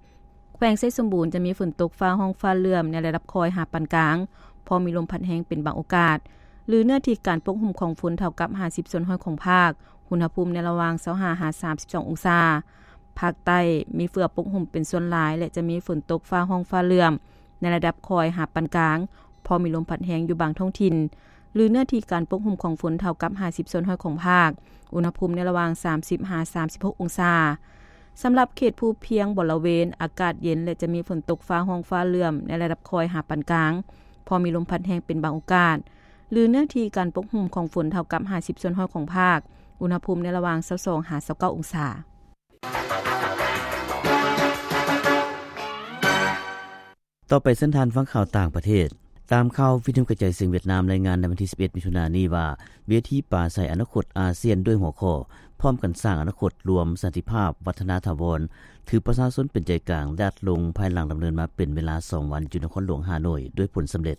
ແຂວງໄຊສົມບູນ ຈະມີຝົນຕົກຟ້າຮ້ອງຟ້າເຫຼື້ອມໃນລະດັບຄ່ອຍຫາປານກາງ, ພ້ອມມີລົມພັດແຮງເປັນບາງໂອກາດ, ຫຼືເນື້ອທີ່ການປົກຫຸ້ມຂອງຝົນເທົ່າກັບຫ້າສິບສ່ວນຮ້ອຍຂອງພາກ, ອຸນຫະພູມໃນລະຫວ່າງຊາວຫ້າຫາສາມສິບສອງອົງສາ. ພາກໃຕ້ ມີເຝືອປົກຫຸ້ມເປັນສ່ວນຫຼາຍ ແລະ ຈະມີຝົນຕົກຟ້າຮ້ອງຟ້າເຫຼື້ອມໃນລະດັບຄ່ອຍຫາປານກາງ, ພໍມີລົມພັດແຮງຢູ່ບາງທ້ອງຖິ່ນ, ຫຼືເນື້ອທີ່ການປົກຫຸ້ມຂອງຝົນເທົ່າກັບຫ້າສິບສ່ວນຮ້ອຍຂອງພາກ, ອຸນຫະພູມໃນລະຫວ່າງສາມສິບຫາສາມສິບຫົກອົງສາ. ສຳລັບເຂດພູພຽງບໍລະເວນ ອາກາດເຢັນ ແລະ ຈະມີຝົນຕົກຟ້າຮ້ອງຟ້າເຫຼື້ອມໃນລະດັບຄ່ອຍຫາປານກາງ, ພໍມີລົມພັດແຮງເປັນບາງໂອກາດ, ຫຼືເນື້ອທີ່ການປົກຫຸ້ມຂອງຝົນເທົ່າກັບຫ້າສິບສ່ວນຮ້ອຍຂອງພາກ, ອຸນຫະພູມໃນລະຫວ່າງຊາວສອງຫາຊາວເກົ້າອົງສາ. ຕໍ່ໄປເຊີນທ່ານຟັງຂ່າວຕ່າງປະເທດ. ຕາມຂ່າວວິທະຍຸກະຈາຍສຽງຫວຽດນາມລາຍງານໃນວັນທີສິບເອັດ ມິຖຸນານີ້ວ່າ ເວທີປາໄສອະນາຄົດອາຊຽນດ້ວຍຫົວຂໍ້ ພ້ອມກັນສ້າງອະນາຄົດລວມ, ສັນຕິພາບ, ວັດທະນາຖາວອນ ຖືປະຊາຊົນເປັນໃຈກາງ ຍາດລົງພາຍຫຼັງດຳເນີນມາເປັນເວລາສອງວັນຢູ່ນະຄອນຫຼວງຮ່າໂນ້ຍດ້ວຍຜົນສຳເລັດ.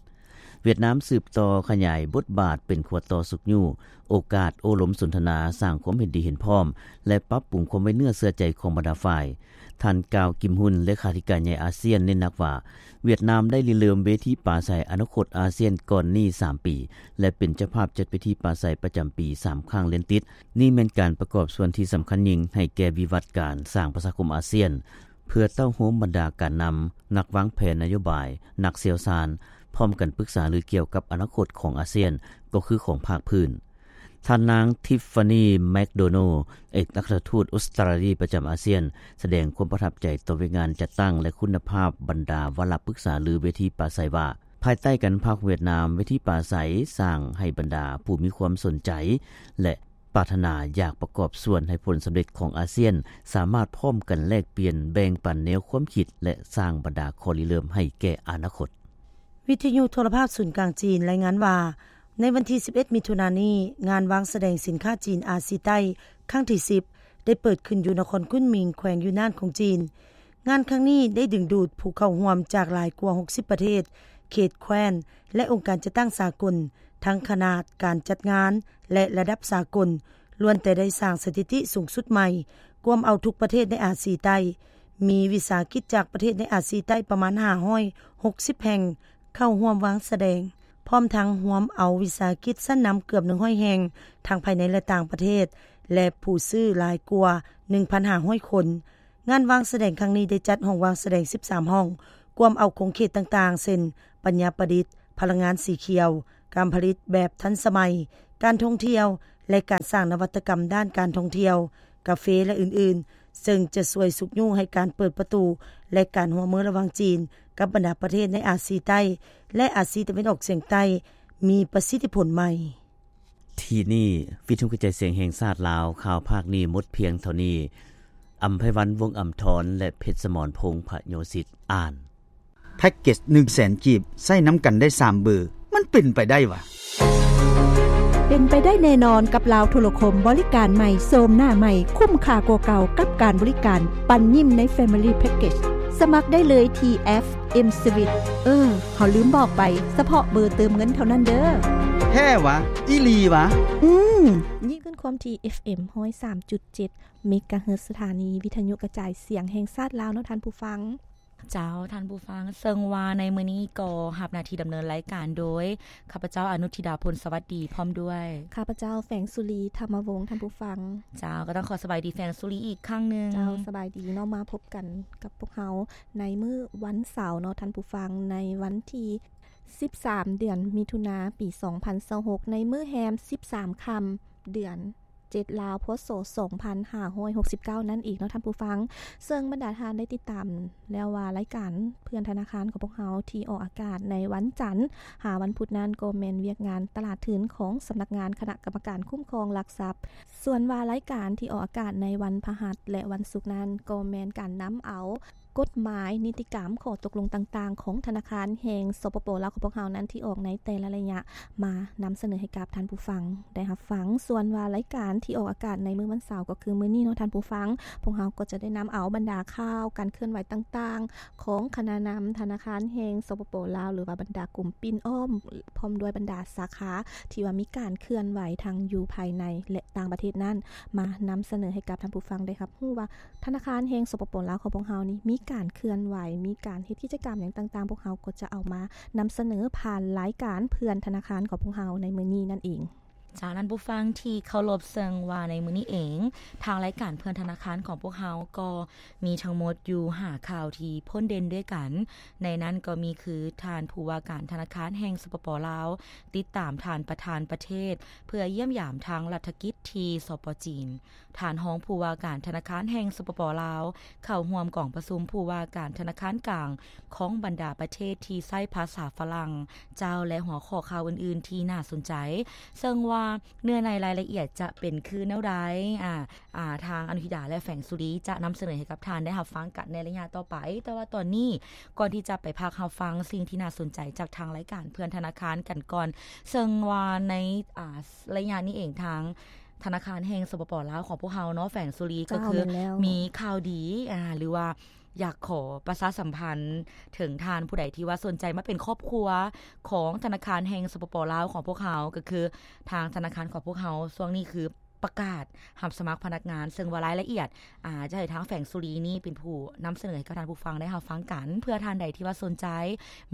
ຫວຽດນາມສືບຕໍ່ຂະຫຍາຍບົດບາດເປັນຂົວຕໍ່ຊຸກຍູ້ໂອກາດໂອ້ລົມສົນທະນາ, ສ້າງຄວາມເຫັນດີເຫັນພ້ອມ ແລະ ປັບປຸງຄວາມໄວ້ເນື້ອເຊື່ອໃຈຂອງບັນດາຝ່າຍ. ທ່ານ ກາວ ກິມຮຸນ ເລຂາທິການໃຫຍ່ອາຊຽນ ເນັ້ນໜັກວ່າ ຫວຽດນາມໄດ້ລິເລີ່ມເວທີປາໄສອະນາຄົດອາຊຽນກ່ອນນີ້ສາມປີ ແລະ ເປັນເຈົ້າພາບຈັດເວທີປາໄສປະຈຳປີສາມຄັ້ງລຽນຕິດ. ນີ້ແມ່ນການປະກອບສ່ວນທີ່ສຳຄັນຍິ່ງໃຫ້ແກ່ວິວັດການສ້າງປະຊາຄົມອາຊຽນ ເພື່ອເຕົ້າໂຮມບັນດາການນຳ, ນັກວາງແຜນນະໂຍບາຍ, ນັກຊ່ຽວຊານ ພ້ອມກັນປຶກສາລືກ່ຽວກັບອະນາຄົດຂອງອາຊຽນ ກໍຄືຂອງພາກພື້ນ. ທ່ານນາງ ທິຟຟານີ ແມັກໂດນັລ ເອກອັກຄະທູດອົດສະຕຣາລີປະຈຳອາຊຽນ ສະແດງຄວາມປະທັບໃຈຕໍ່ວຽກງານຈັດຕັ້ງ ແລະ ຄຸນນະພາບບັນດາວາລະປຶກສາລືເວທີປາໄສວ່າ ພາຍໃຕ້ການນຳພາຂອງຫວຽດນາມ, ເວທີປາໄສສ້າງໃຫ້ບັນດາຜູ້ມີຄວາມສົນໃຈ ແລະ ປາດຖະໜາຢາກປະກອບສ່ວນໃຫ້ຜົນສຳເລັດຂອງອາຊຽນ ສາມາດພ້ອມກັນແລກປ່ຽນແບ່ງປັນແນວຄວາມຄິດ ແລະ ສ້າງບັນດາຂໍ້ລິເລີ່ມໃຫ້ແກ່ອະນາຄົດ. ວິທະຍຸໂທລະພາບສູນກາງຈີນລາຍງານວ່າ ໃນວັນທີສິບເອັດ ມິຖຸນານີ້, ງານວາງສະແດງສິນຄ້າຈີນອາຊີໃຕ້ຄັ້ງທີສິບ ໄດ້ເປີດຂຶ້ນຢູ່ນະຄອນກຸນໝິງ ແຂວງຢູນານຂອງຈີນ. ງານຄັ້ງນີ້ໄດ້ດຶງດູດຜູ້ເຂົ້າຮ່ວມຈາກຫຼາຍກວ່າຫົກສິບປະເທດ, ເຂດແຄວ້ນ ແລະ ອົງການຈັດຕັ້ງສາກົນ, ທັງຂະໜາດການຈັດງານ ແລະ ລະດັບສາກົນ, ລ້ວນແຕ່ໄດ້ສ້າງສະຖິຕິສູງສຸດໃໝ່, ກວມເອົາທຸກປະເທດໃນອາຊີໃຕ້. ມີວິສາຫະກິດຈາກປະເທດໃນອາຊີໃຕ້ປະມານຫ້າຮ້ອຍຫົກສິບແຫ່ງເຂົ້າຮ່ວມວາງສະແດງ, ພ້ອມທັງຮວມເອົາວິສາຫະກິດຊັ້ນນຳເກືອບໜຶ່ງຮ້ອຍແຫ່ງ, ທັງພາຍໃນ ແລະ ຕ່າງປະເທດ, ແລະ ຜູ້ຊື້ຫຼາຍກວ່າໜຶ່ງພັນຫ້າຮ້ອຍຄົນ. ງານວາງສະແດງຄັ້ງນີ້ໄດ້ຈັດຫ້ອງວາງສະແດງສິບສາມຫ້ອງ, ກວມເອົາຂົງເຂດຕ່າງໆ ເຊັ່ນ ປັນຍາປະດິດ, ພະລັງງານສີຂຽວ, ການຜະລິດແບບທັນສະໄໝ, ການທ່ອງທ່ຽວ ແລະ ການສ້າງນະວັດຕະກຳດ້ານການທ່ອງທ່ຽວ, ກາເຟ ແລະ ອື່ນໆ ເຊິ່ງຈະຊ່ວຍຊຸກຍູ້ໃຫ້ການເປີດປະຕູ ແລະ ການຮ່ວມມືລະຫວ່າງຈີນກັບບັນດາປະເທດໃນອາຊີໃຕ້ ແລະ ອາຊີຕາເວັນອອກສຽງໃຕ້ ມີປະສິດທິຜົນໃໝ່. ທີ່ນີ້ ວິທະຍຸກະຈາຍສຽງແຫ່ງຊາດລາວ ຂ່າວພາກນີ້ໝົດພຽງເທົ່ານີ້. ອຳໄພວັນ ວົງອຳທອນ ແລະ ເພັດສະໝອນ ພົງພະໂຍສິດ ອ່ານ. ແພັກເກັດໜຶ່ງແສນກີບ ໃຊ້ນຳກັນໄດ້ສາມເບີ ມັນເປັນໄປໄດ້ຫວາ? ເປັນໄປໄດ້ແນ່ນອນກັບລາວໂທລະຄົມ ບໍລິການໃໝ່ ໂສມໜ້າໃໝ່ ຄຸ້ມຄ່າກວ່າເກົ່າກັບການບໍລິການ ປັນຍິ້ມໃນ Family Package. ສະໝັກໄດ້ເລີຍທີ່ແອັບ M Switch. ເອີ ເຮົາລືມບອກໄປ, ສະເພາະເບີເຕີມເງິນເທົ່ານັ້ນເດີ. ແທ້ຫວາ? ອີ່ຫຼີຫວາ? ອືມ. ຍິນດີຄືນຄວາມທີ່ ເອັຟເອັມ ຮ້ອຍສາມຈຸດເຈັດ ເມກາເຮີດ ສະຖານີວິທະຍຸກະຈາຍສຽງແຫ່ງຊາດລາວເນາະທ່ານຜູ້ຟັງ. ເຈົ້າ ທ່ານຜູ້ຟັງ, ເຊິ່ງວ່າໃນມື້ນີ້ກໍຮັບໜ້າທີ່ດຳເນີນລາຍການໂດຍ ຂ້າພະເຈົ້າ ອະນຸທິດາ ພົນສະຫວັດດີ ພ້ອມດ້ວຍ ຂ້າພະເຈົ້າ ແຝງສຸລີ ທຳມະວົງ ທ່ານຜູ້ຟັງ. ເຈົ້າ ກໍຕ້ອງຂໍສະບາຍດີແຝງສຸລີອີກຄັ້ງໜຶ່ງ. ເຈົ້າ ສະບາຍດີເນາະ, ມາພົບກັນກັບພວກເຮົາໃນມື້ວັນເສົາເນາະທ່ານຜູ້ຟັງ, ໃນວັນທີສິບສາມ ເດືອນມິຖຸນາ ປີສອງພັນຊາວຫົກ ໃນມື້ແຮມສິບສາມຄ່ຳ ເດືອນ ເຈັດ ລາວ ພ.ສ. ສອງພັນຫ້າຮ້ອຍຫົກສິບເກົ້າ ນັ້ນເອງເນາະທ່ານຜູ້ຟັງ. ເຊິ່ງບັນດາທ່ານໄດ້ຕິດຕາມແລ້ວວ່າ ລາຍການເພື່ອນທະນາຄານຂອງພວກເຮົາທີ່ອອກອາກາດໃນວັນຈັນຫາວັນພຸດນັ້ນ ກໍແມ່ນວຽກງານຕະຫຼາດທຶນຂອງສຳນັກງານຄະນະກຳມະການຄຸ້ມຄອງຫຼັກຊັບ. ສ່ວນວ່າລາຍການທີ່ອອກອາກາດໃນວັນພະຫັດ ແລະ ວັນສຸກນັ້ນ ກໍແມ່ນການນຳເອົາ ກົດໝາຍ, ນິຕິກຳ, ຂໍ້ຕົກລົງຕ່າງໆ ຂອງທະນາຄານແຫ່ງ ສປປ ລາວ ຂອງພວກເຮົານັ້ນ ທີ່ອອກໃນແຕ່ລະໄລຍະ ມານຳສະເໜີໃຫ້ກັບທ່ານຜູ້ຟັງໄດ້ຮັບຟັງ. ສ່ວນວ່າລາຍການທີ່ອອກອາກາດໃນມື້ວັນເສົາ ກໍຄືມື້ນີ້ເນາະທ່ານຜູ້ຟັງ, ພວກເຮົາກໍຈະໄດ້ນຳເອົາບັນດາຂ່າວການເຄື່ອນໄຫວຕ່າງໆ ຂອງຄະນະນຳທະນາຄານແຫ່ງ ສປປ ລາວ ຫຼືວ່າບັນດາກຸ່ມປິ່ນອ້ອມ ພ້ອມດ້ວຍບັນດາສາຂາ ທີ່ວ່າມີການເຄື່ອນໄຫວທັງຢູ່ພາຍໃນ ແລະ ຕ່າງປະເທດນັ້ນ ມານຳສະເໜີໃຫ້ກັບທ່ານຜູ້ຟັງໄດ້ຮັບຮູ້ວ່າ ທະນາຄານແຫ່ງ ສປປ ລາວ ຂອງພວກເຮົານີ້ ມີການເຄື່ອນໄຫວ, ມີການເຮັດກິດຈະກຳຫຍັງຕ່າງໆ ພວກເຮົາກໍຈະເອົາມານຳສະເໜີຜ່ານລາຍການເພື່ອນທະນາຄານຂອງພວກເຮົາໃນມື້ນີ້ນັ້ນເອງ. ເຈົ້າ ທ່ານຜູ້ຟັງທີ່ເຄົາລົບ, ເຊິ່ງວ່າໃນມື້ນີ້ເອງ ທາງລາຍການເພື່ອນທະນາຄານຂອງພວກເຮົາກໍມີທັງໝົດຢູ່ຫ້າຂ່າວທີ່ໂດດເດັ່ນດ້ວຍກັນ. ໃນນັ້ນກໍມີຄື ທ່ານຜູ້ວ່າການທະນາຄານແຫ່ງ ສປປ ລາວ ຕິດຕາມທ່ານປະທານປະເທດ ເພື່ອຢ້ຽມຢາມທາງລັດຖະກິດທີ່ ສປ ຈີນ. ທ່ານຮອງຜູ້ວ່າການທະນາຄານແຫ່ງ ສປປ ລາວ ເຂົ້າຮ່ວມກອງປະຊຸມຜູ້ວ່າການທະນາຄານກາງຂອງບັນດາປະເທດທີ່ໃຊ້ພາສາຝຣັ່ງເຈົ້າ ແລະ ຫົວຂໍ້ຂ່າວອື່ນໆທີ່ໜ້າສົນໃຈ, ເຊິ່ງວ່າເນື້ອໃນລາຍລະອຽດຈະເປັນຄືແນວໃດ, ອາ, ອາ, ທາງອະນຸທິດາ ແລະ ແຝງສຸລີ ຈະນຳສະເໜີໃຫ້ກັບທ່ານໄດ້ຮັບຟັງກັນໃນໄລຍະຕໍ່ໄປ. ແຕ່ວ່າຕອນນີ້, ກ່ອນທີ່ຈະໄປພັກຮັບຟັງສິ່ງທີ່ໜ້າສົນໃຈຈາກທາງລາຍການເພື່ອນທະນາຄານກັນກ່ອນ, ເຊິ່ງວ່າໃນ, ອາ, ໄລຍະນີ້ເອງ ທາງ ທະນາຄານແຫ່ງ ສປປ ລາວ ຂອງພວກເຮົາເນາະ ແຝງສຸລີ ເຈົ້າ ກໍຄື ແມ່ນແລ້ວ ມີຂ່າວດີ ອາ ຫຼືວ່າຢາກຂໍປະຊາສຳພັນເຖິງທ່ານຜູ້ໃດທີ່ວ່າສົນໃຈມາເປັນຄອບຄົວຂອງທະນາຄານແຫ່ງ ສປປ ລາວ ຂອງພວກເຮົາ, ກໍຄືທາງທະນາຄານຂອງພວກເຮົາຊ່ວງນີ້ຄືປະກາດຮັບສະໝັກພະນັກງານ, ເຊິ່ງວ່າລາຍລະອຽດ ອາ ຈະໃຫ້ທາງແຝງສຸລີນີ້ເປັນຜູ້ນຳສະເໜີໃຫ້ກັບທ່ານຜູ້ຟັງໄດ້ຮັບຟັງກັນ. ເພື່ອທ່ານໃດທີ່ວ່າສົນໃຈ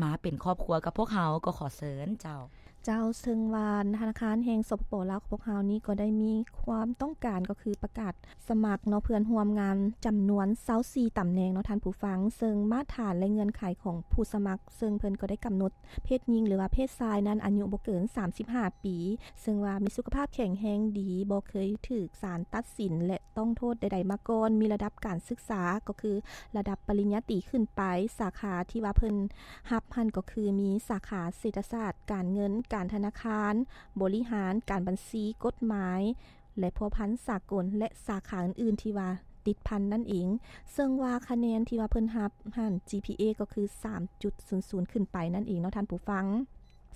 ມາເປັນຄອບຄົວກັບພວກເຮົາ ກໍຂໍເຊີນເຈົ້າ. ເຈົ້າ, ເຊິ່ງວ່າທະນາຄານແຫ່ງ ສປປ ລາວ ຂອງພວກເຮົານີ້ກໍໄດ້ມີຄວາມຕ້ອງການ ກໍຄືປະກາດສະໝັກເນາະ ເພື່ອນຮ່ວມງານຈຳນວນຊາວສີ່ຕຳແໜ່ງເນາະທ່ານຜູ້ຟັງ, ເຊິ່ງມາດຖານ ແລະ ເງື່ອນໄຂຂອງຜູ້ສະໝັກ ເຊິ່ງເພິ່ນກໍໄດ້ກຳນົດເພດຍິງ ຫຼືວ່າເພດຊາຍນັ້ນອາຍຸບໍ່ເກີນສາມສິບຫ້າປີ, ເຊິ່ງວ່າມີສຸຂະພາບແຂງແຮງດີ, ບໍ່ເຄີຍຖືກສານຕັດສິນ ແລະ ຕ້ອງໂທດໃດໆມາກ່ອນ, ມີລະດັບການສຶກສາ ກໍຄືລະດັບປະລິນຍາຕີຂຶ້ນໄປ, ສາຂາທີ່ວ່າເພິ່ນຮັບຫັ້ນກໍຄືມີສາຂາເສດຖະສາດ, ການເງິນ, ການທະນາຄານ, ບໍລິຫານ, ການບັນຊີ, ກົດໝາຍ ແລະ ພົວພັນສາກົນ ແລະ ສາຂາອື່ນໆທີ່ວ່າຕິດພັນນັ້ນເອງ. ເຊິ່ງວ່າຄະແນນທີ່ວ່າເພິ່ນຮັບຫັ້ນ ຈີພີເອ ກໍຄືສາມຈຸດສູນສູນຂຶ້ນໄປນັ້ນເອງເນາະທ່ານຜູ້ຟັງ.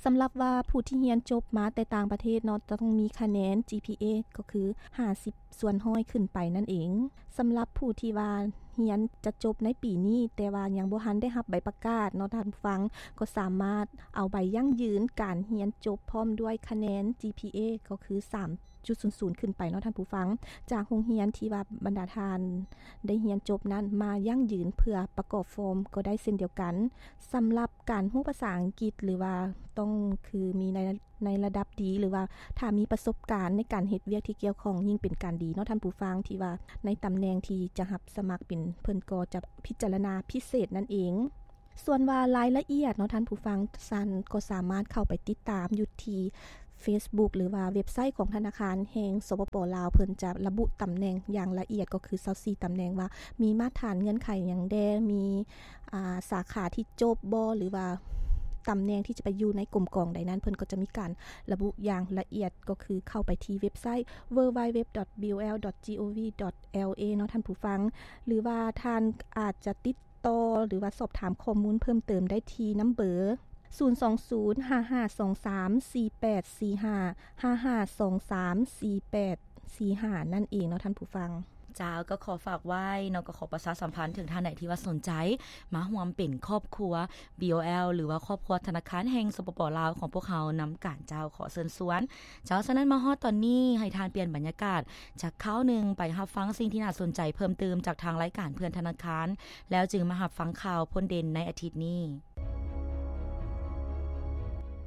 ສຳລັບວ່າຜູ້ທີ່ຮຽນຈົບມາແຕ່ຕ່າງປະເທດເນາະ ຕ້ອງມີຄະແນນ ຈີພີເອ ກໍຄືຫ້າສິບສ່ວນຮ້ອຍຂຶ້ນໄປນັ້ນເອງ. ສຳລັບຜູ້ທີ່ວ່າຮຽນຈະຈົບໃນປີນີ້ ແຕ່ວ່າຍັງບໍ່ທັນໄດ້ຮັບໃບປະກາດເນາະທ່ານຜູ້ຟັງ ກໍສາມາດເອົາໃບຢັ້ງຢືນການຮຽນຈົບ ພ້ອມດ້ວຍຄະແນນ ຈີພີເອ ກໍຄືສາມຈຸດສູນສູນຂຶ້ນໄປເນາະທ່ານຜູ້ຟັງ ຈາກໂຮງຮຽນທີ່ວ່າບັນດາທ່ານໄດ້ຮຽນຈົບນັ້ນມາຢັ້ງຢືນເພື່ອປະກອບຟອມກໍໄດ້ເຊັ່ນດຽວກັນ. ສຳລັບການຮູ້ພາສາອັງກິດ ຫຼືວ່າຕ້ອງຄືມີໃນ ໃນລະດັບດີ ຫຼືວ່າຖ້າມີປະສົບການໃນການເຮັດວຽກທີ່ກ່ຽວຂ້ອງ ຍິ່ງເປັນການດີເນາະທ່ານຜູ້ຟັງ ທີ່ວ່າໃນຕຳແໜ່ງທີ່ຈະຮັບສະໝັກເປັນ ເພິ່ນກໍຈະພິຈາລະນາພິເສດນັ້ນເອງ. ສ່ວນວ່າລາຍລະອຽດເນາະທ່ານຜູ້ຟັງ ທ່ານກໍສາມາດເຂົ້າໄປຕິດຕາມຢູ່ທີ່ Facebook ຫຼືວ່າເວັບໄຊຂອງທະນາຄານແຫ່ງ ສປປ ລາວ ເພິ່ນຈະລະບຸຕຳແໜ່ງຢ່າງລະອຽດ ກໍຄືຊາວສີ່ຕຳແໜ່ງ ວ່າມີມາດຖານເງື່ອນໄຂຫຍັງແດ່ ມີ ອ່າ ສາຂາທີ່ຈົບບໍ່ ຫຼືວ່າຕຳແໜ່ງທີ່ຈະໄປຢູ່ໃນກົມກອງໃດນັ້ນ ເພິ່ນກໍຈະມີການລະບຸຢ່າງລະອຽດ ກໍຄືເຂົ້າໄປທີ່ເວັບໄຊ www.bol.gov.la ເນາະທ່ານຜູ້ຟັງ ຫຼືວ່າທ່ານອາດຈະຕິດ ຕໍ່ ຫຼືວ່າສອບຖາມຂໍ້ມູນເພີ່ມເຕີມໄດ້ທີ່ນຳເບີ ສູນສອງສູນ ຫ້າຫ້າສອງສາມ ສີ່ແປດສີ່ຫ້າ ຫ້າຫ້າສອງສາມ ສີ່ແປດສີ່ຫ້າ ນັ້ນເອງເນາະທ່ານຜູ້ຟັງ. ເຈົ້າ ກໍຂໍຝາກໄວ້ເນາະ ກໍຂໍປະຊາສຳພັນເຖິງທ່ານໃດທີ່ວ່າສົນໃຈມາຮ່ວມເປັນຄອບຄົວ BOL ຫຼືວ່າຄອບຄົວທະນາຄານແຫ່ງ ສປປ ລາວ ຂອງພວກເຮົານຳກັນ. ເຈົ້າ ຂໍເຊີນຊວນ ເຈົ້າ ສະນັ້ນມາຮອດຕອນນີ້ ໃຫ້ທ່ານປ່ຽນບັນຍາກາດ ຈັກຄາວໜຶ່ງໄປຮັບຟັງສິ່ງທີ່ໜ້າສົນໃຈເພີ່ມຕື່ມຈາກທາງລາຍການເພື່ອນທະນາຄານ ແລ້ວຈຶ່ງມາຮັບຟັງຂ່າວພົ້ນເດັ່ນໃນອາທິດນີ້.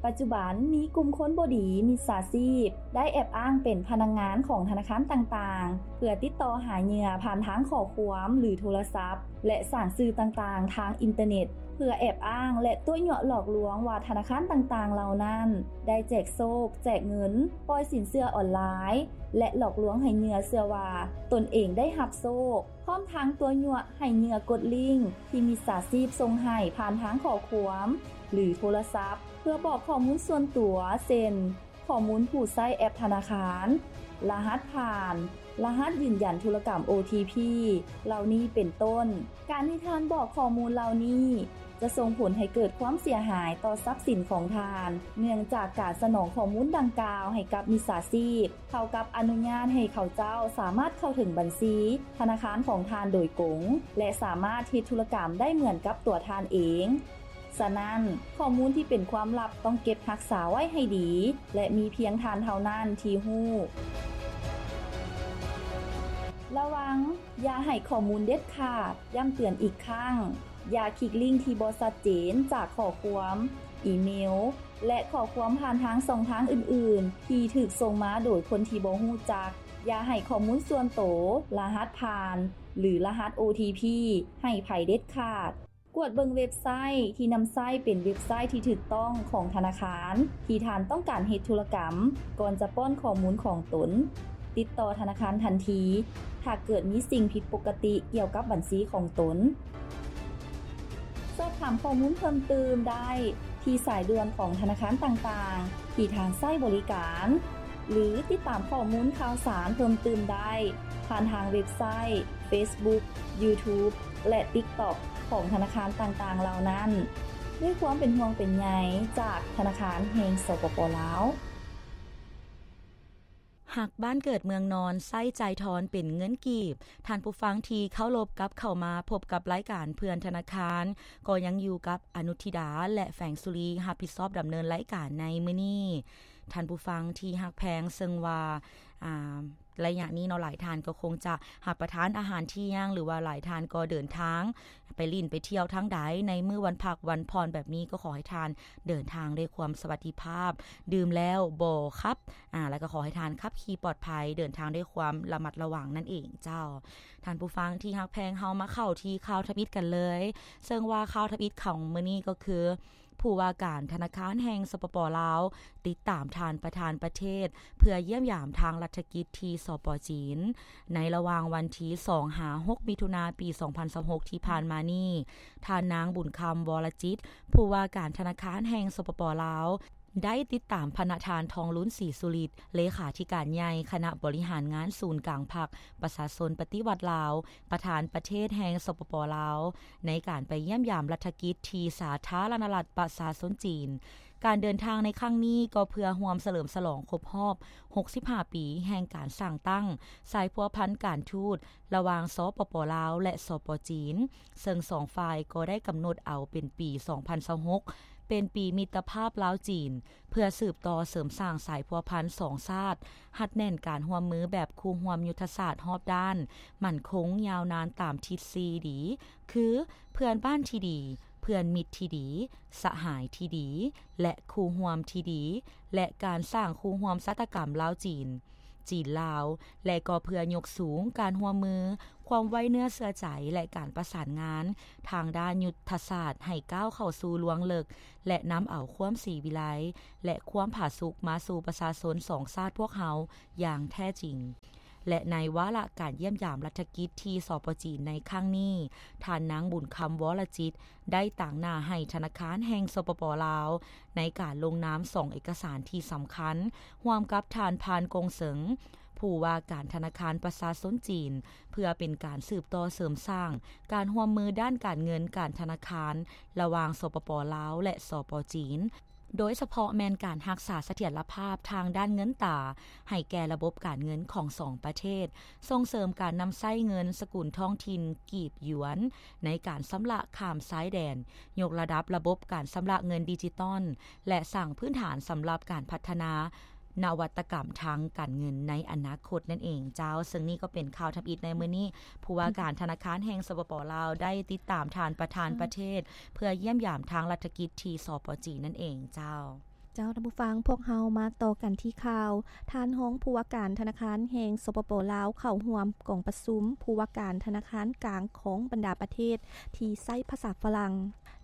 ປັດຈຸບັນມີກຸ່ມຄົນບໍ່ດີມິດສາຊີບ ໄດ້ແອບອ້າງເປັນພະນັກງານຂອງທະນາຄານຕ່າງໆ ເພື່ອຕິດຕໍ່ຫາເຫຍື່ອຜ່ານທາງຂໍ້ຄວາມ ຫຼື ໂທລະສັບ ແລະ ສ້າງສື່ຕ່າງໆທາງອິນເຕີເນັດ ເພື່ອແອບອ້າງ ແລະ ຕົວະຍົວະຫຼອກລວງວ່າທະນາຄານຕ່າງໆເຫຼົ່ານັ້ນ ໄດ້ແຈກໂຊກ, ແຈກເງິນ, ປ່ອຍສິນເຊື່ອອອນລາຍ ແລະ ຫຼອກລວງໃຫ້ເຫຍື່ອເຊື່ອວ່າຕົນເອງໄດ້ຮັບໂຊກ, ພ້ອມທັງຕົວະຍົວະໃຫ້ເຫຍື່ອກົດລິ້ງທີ່ມິດສາຊີບສົ່ງໃຫ້ຜ່ານທາງຂໍ້ຄວາມ ຫຼື ໂທລະສັບ ເພື່ອບອກຂໍ້ມູນສ່ວນຕົວ ເຊັ່ນ ຂໍ້ມູນຜູ້ໃຊ້ແອັບທະນາຄານ, ລະຫັດຜ່ານ, ລະຫັດຢືນຢັນທຸລະກຳ ໂອທີພີ ເຫຼົ່ານີ້ເປັນຕົ້ນ. ການທີ່ທ່ານບອກຂໍ້ມູນເຫຼົ່ານີ້ ຈະສົ່ງຜົນໃຫ້ເກີດຄວາມເສຍຫາຍຕໍ່ຊັບສິນຂອງທ່ານ, ເນື່ອງຈາກການສະໜອງຂໍ້ມູນດັ່ງກ່າວໃຫ້ກັບມິດສາຊີບ ເທົ່າກັບອະນຸຍາດໃຫ້ເຂົາເຈົ້າສາມາດເຂົ້າເຖິງບັນຊີທະນາຄານຂອງທ່ານໂດຍກົງ ແລະ ສາມາດເຮັດທຸລະກຳໄດ້ເໝືອນກັບຕົວທ່ານເອງ. ສະນັ້ນ, ຂໍ້ມູນທີ່ເປັນຄວາມລັບຕ້ອງເກັບຮັກສາໄວ້ໃຫ້ດີ ແລະ ມີພຽງທ່ານເທົ່ານັ້ນທີ່ຮູ້. ລະວັງ, ຢ່າໃຫ້ຂໍ້ມູນເດັດຂາດ. ຢ້ຳເຕືອນອີກຄັ້ງ, ຢ່າຄລິກລິ້ງທີ່ບໍ່ຊັດເຈນຈາກຂໍ້ຄວາມ, ອີເມວ ແລະ ຂໍ້ຄວາມຜ່ານທາງຊ່ອງທາງອື່ນໆ ທີ່ຖືກສົ່ງມາໂດຍຄົນທີ່ບໍ່ຮູ້ຈັກ. ຢ່າໃຫ້ຂໍ້ມູນສ່ວນໂຕ, ລະຫັດຜ່ານ ຫຼື ລະຫັດ ໂອທີພີ ໃຫ້ໃຜເດັດຂາດ. ກວດເບິ່ງເວັບໄຊທີ່ນຳໃຊ້ເປັນເວັບໄຊທີ່ຖືກຕ້ອງຂອງທະນາຄານທີ່ທ່ານຕ້ອງການເຮັດທຸລະກຳ ກ່ອນຈະປ້ອນຂໍ້ມູນຂອງຕົນ. ຕິດຕໍ່ທະນາຄານທັນທີ ຖ້າເກີດມີສິ່ງຜິດປົກກະຕິກ່ຽວກັບບັນຊີຂອງຕົນ. ສອບຖາມຂໍ້ມູນເພີ່ມຕື່ມໄດ້ທີ່ສາຍດ່ວນຂອງທະນາຄານຕ່າງໆທີ່ທ່ານໃຊ້ບໍລິການ ຫຼື ຕິດຕາມຂໍ້ມູນຂ່າວສານເພີ່ມຕື່ມໄດ້ຜ່ານທາງເວັບໄຊ, ເຟສບຸກ, ຢູທູບ ແລະ ຕິກຕັອກ ຂອງທະນາຄານຕ່າງໆເຫຼົ່ານັ້ນ. ດ້ວຍຄວາມເປັນຫ່ວງເປັນໃຍຈາກທະນາຄານແຫ່ງ ສປປ ລາວ. ຮັກບ້ານເກີດເມືອງນອນ, ໃຊ້ຈ່າຍທອນເປັນເງິນກີບ. ທ່ານຜູ້ຟັງທີ່ເຄົາລົບ, ກັບເຂົ້າມາພົບກັບລາຍການເພື່ອນທະນາຄານ, ກໍຍັງຢູ່ກັບອະນຸທິດາ ແລະ ແຝງສຸລີ ຮັບຜິດຊອບດຳເນີນລາຍການໃນມື້ນີ້. ທ່ານຜູ້ຟັງທີ່ຮັກແພງ, ເຊິ່ງວ່າ, ອາ, ໄລຍະນີ້ເນາະ, ຫຼາຍທ່ານກໍຄົງຈະຮັບປະທານອາຫານທ່ຽງ ຫຼືວ່າຫຼາຍທ່ານກໍເດີນທາງໄປຫຼິ້ນໄປທ່ຽວທາງໃດໃນມື້ວັນພັກວັນຜ່ອນແບບນີ້, ກໍຂໍໃຫ້ທ່ານເດີນທາງດ້ວຍຄວາມສະຫວັດດີພາບ, ດື່ມແລ້ວບໍ່ຂັບ, ອາ, ແລ້ວກໍຂໍໃຫ້ທ່ານຂັບຂີ່ປອດໄພ, ເດີນທາງດ້ວຍຄວາມລະມັດລະວັງນັ້ນເອງເຈົ້າ. ທ່ານຜູ້ຟັງທີ່ຮັກແພງ, ເຮົາມາເຂົ້າທີ່ຂ່າວທຳອິດກັນເລີຍ, ເຊິ່ງວ່າຂ່າວທຳອິດຂອງມື້ນີ້ກໍຄື ຜູ້ວ່າການທະນາຄານແຫ່ງ ສປປ ລາວ ຕິດຕາມທ່ານປະທານປະເທດ ເພື່ອຢ້ຽມຢາມທາງລັດຖະກິດທີ່ ສປ ຈີນ. ໃນລະຫວ່າງວັນທີສອງຫາຫົກ ມິຖຸນາ ປີສອງພັນຊາວຫົກ ທີ່ຜ່ານມານີ້, ທ່ານນາງ ບຸນຄຳ ວໍລະຈິດ ຜູ້ວ່າການທະນາຄານແຫ່ງ ສປປ ລາວ ໄດ້ຕິດຕາມພະນະທ່ານ ທອງລຸນ ສີສຸລິດ ເລຂາທິການໃຫຍ່ຄະນະບໍລິຫານງານສູນກາງພັກປະຊາຊົນປະຕິວັດລາວ ປະທານປະເທດແຫ່ງ ສປປ ລາວ ໃນການໄປຢ້ຽມຢາມລັດຖະກິດທີ່ສາທາລະນະລັດປະຊາຊົນຈີນ. ການເດີນທາງໃນຄັ້ງນີ້ກໍເພື່ອຮ່ວມສະເຫຼີມສະຫຼອງຄົບຮອບຫົກສິບຫ້າປີແຫ່ງການສ້າງຕັ້ງສາຍພົວພັນການທູດລະຫວ່າງ ສປປ ລາວ ແລະ ສປ ຈີນ, ເຊິ່ງສອງຝ່າຍກໍໄດ້ກຳນົດເອົາເປັນປີສອງພັນຊາວຫົກ ເປັນປີມິດຕະພາບລາວ-ຈີນ ເພື່ອສືບຕໍ່ເສີມສ້າງສາຍພົວພັນສອງຊາດ, ຮັດແໜ້ນການຮ່ວມມືແບບຄູ່ຮ່ວມຍຸດທະສາດຮອບດ້ານ, ໝັ້ນຄົງຍາວນານຕາມທິດສີ່ດີ ຄື ເພື່ອນບ້ານທີ່ດີ, ເພື່ອນມິດທີ່ດີ, ສະຫາຍທີ່ດີ ແລະ ຄູ່ຮ່ວມທີ່ດີ ແລະ ການສ້າງຄູ່ຮ່ວມຊະຕາກຳລາວ-ຈີນ. ຈີນ-ລາວ ແລະ ກໍເພື່ອຍົກສູງການຮ່ວມມື, ຄວາມໄວ້ເນື້ອເຊື່ອໃຈ ແລະ ການປະສານງານທາງດ້ານຍຸດທະສາດໃຫ້ກ້າວເຂົ້າສູ່ລວງເລິກ ແລະ ນຳເອົາຄວາມສີວິໄລ ແລະ ຄວາມຜາສຸກມາສູ່ປະຊາຊົນສອງຊາດພວກເຮົາຢ່າງແທ້ຈິງ. ແລະ ໃນວາລະການຢ້ຽມຢາມລັດຖະກິດທີ່ ສປ ຈີນ ໃນຄັ້ງນີ້, ທ່ານນາງ ບຸນຄຳ ວໍລະຈິດ ໄດ້ຕາງໜ້າໃຫ້ທະນາຄານແຫ່ງ ສປປ ລາວ ໃນການລົງນາມສອງເອກະສານທີ່ສຳຄັນ, ຮ່ວມກັບທ່ານ ພານ ກົງເສີງ ຜູ້ວ່າການທະນາຄານປະຊາຊົນຈີນ, ເພື່ອເປັນການສືບຕໍ່ເສີມສ້າງການຮ່ວມມືດ້ານການເງິນການທະນາຄານ ລະຫວ່າງ ສປປ ລາວ ແລະ ສປ ຈີນ, ໂດຍສະເພາະແມ່ນການຮັກສາສະຖຽນລະພາບທາງດ້ານເງິນຕາໃຫ້ແກ່ລະບົບການເງິນຂອງສອງປະເທດ, ສົ່ງເສີມການນຳໃຊ້ເງິນສະກຸນທ້ອງຖິ່ນກີບຢວນໃນການຊຳລະຂ້າມຊາຍແດນ, ຍົກລະດັບລະບົບການຊຳລະເງິນດິຈິຕອນ ແລະ ສ້າງພື້ນຖານສຳລັບການພັດທະນານະວັດຕະກຳທາງການເງິນໃນອະນາຄົດນັ້ນເອງເຈົ້າ. ເຊິ່ງນີ້ກໍເປັນຂ່າວທຳອິດໃນມື້ນີ້, ຜູ້ວ່າການທະນາຄານແຫ່ງ ສປປ ລາວ ໄດ້ຕິດຕາມທ່ານປະທານປະເທດ ເພື່ອຢ້ຽມຢາມທາງລັດຖະກິດທີ່ ສປ ຈີນ ນັ້ນເອງເຈົ້າ. ເຈົ້າ ທ່ານຜູ້ຟັງ, ພວກເຮົາມາຕໍ່ກັນທີ່ຂ່າວ ທ່ານຮອງຜູ້ວ່າການທະນາຄານແຫ່ງ ສປປ ລາວ ເຂົ້າຮ່ວມກອງປະຊຸມຜູ້ວ່າການທະນາຄານກາງຂອງບັນດາປະເທດທີ່ໃຊ້ພາສາຝຣັ່ງ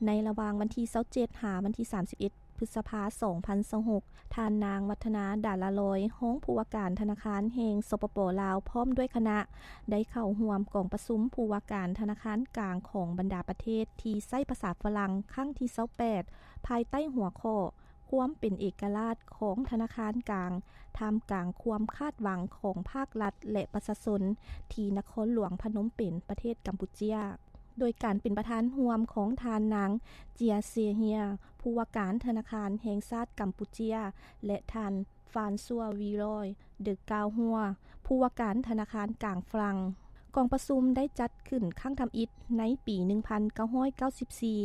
ໃນລະຫວ່າງວັນທີຊາວເຈັດ ຫາວັນທີສາມສິບເອັດ ພຶດສະພາ ສອງພັນຊາວຫົກ. ທ່ານນາງ ວັດທະນາ ດາລາລອຍ ຮອງຜູ້ວ່າການທະນາຄານແຫ່ງ ສປປ ລາວ ພ້ອມດ້ວຍຄະນະ ໄດ້ເຂົ້າຮ່ວມກອງປະຊຸມຜູ້ວ່າການທະນາຄານກາງຂອງບັນດາປະເທດທີ່ໃຊ້ພາສາຝຣັ່ງ ຄັ້ງທີຊາວແປດ ພາຍໃຕ້ຫົວຂໍ້ ຄວາມເປັນເອກະລາດຂອງທະນາຄານກາງ ທ່າມກາງຄວາມຄາດຫວັງຂອງພາກລັດ ແລະ ປະຊາຊົນ ທີ່ນະຄອນຫຼວງພະນົມເປັນ ປະເທດກຳປູເຈຍ. ໂດຍການເປັນປະທານຮ່ວມຂອງທ່ານນາງ ເຈຍ ເຊເຮຍ ຜູ້ວ່າການທະນາຄານແຫ່ງຊາດກຳປູເຈຍ ແລະ ທ່ານ ຟານຊັວ ວີຣອຍ ເດີກາວຫົວ ຜູ້ວ່າການທະນາຄານກາງຝຣັ່ງ. ກອງປະຊຸມໄດ້ຈັດຂຶ້ນຄັ້ງທຳອິດໃນປີໜຶ່ງພັນເກົ້າຮ້ອຍເກົ້າສິບສີ່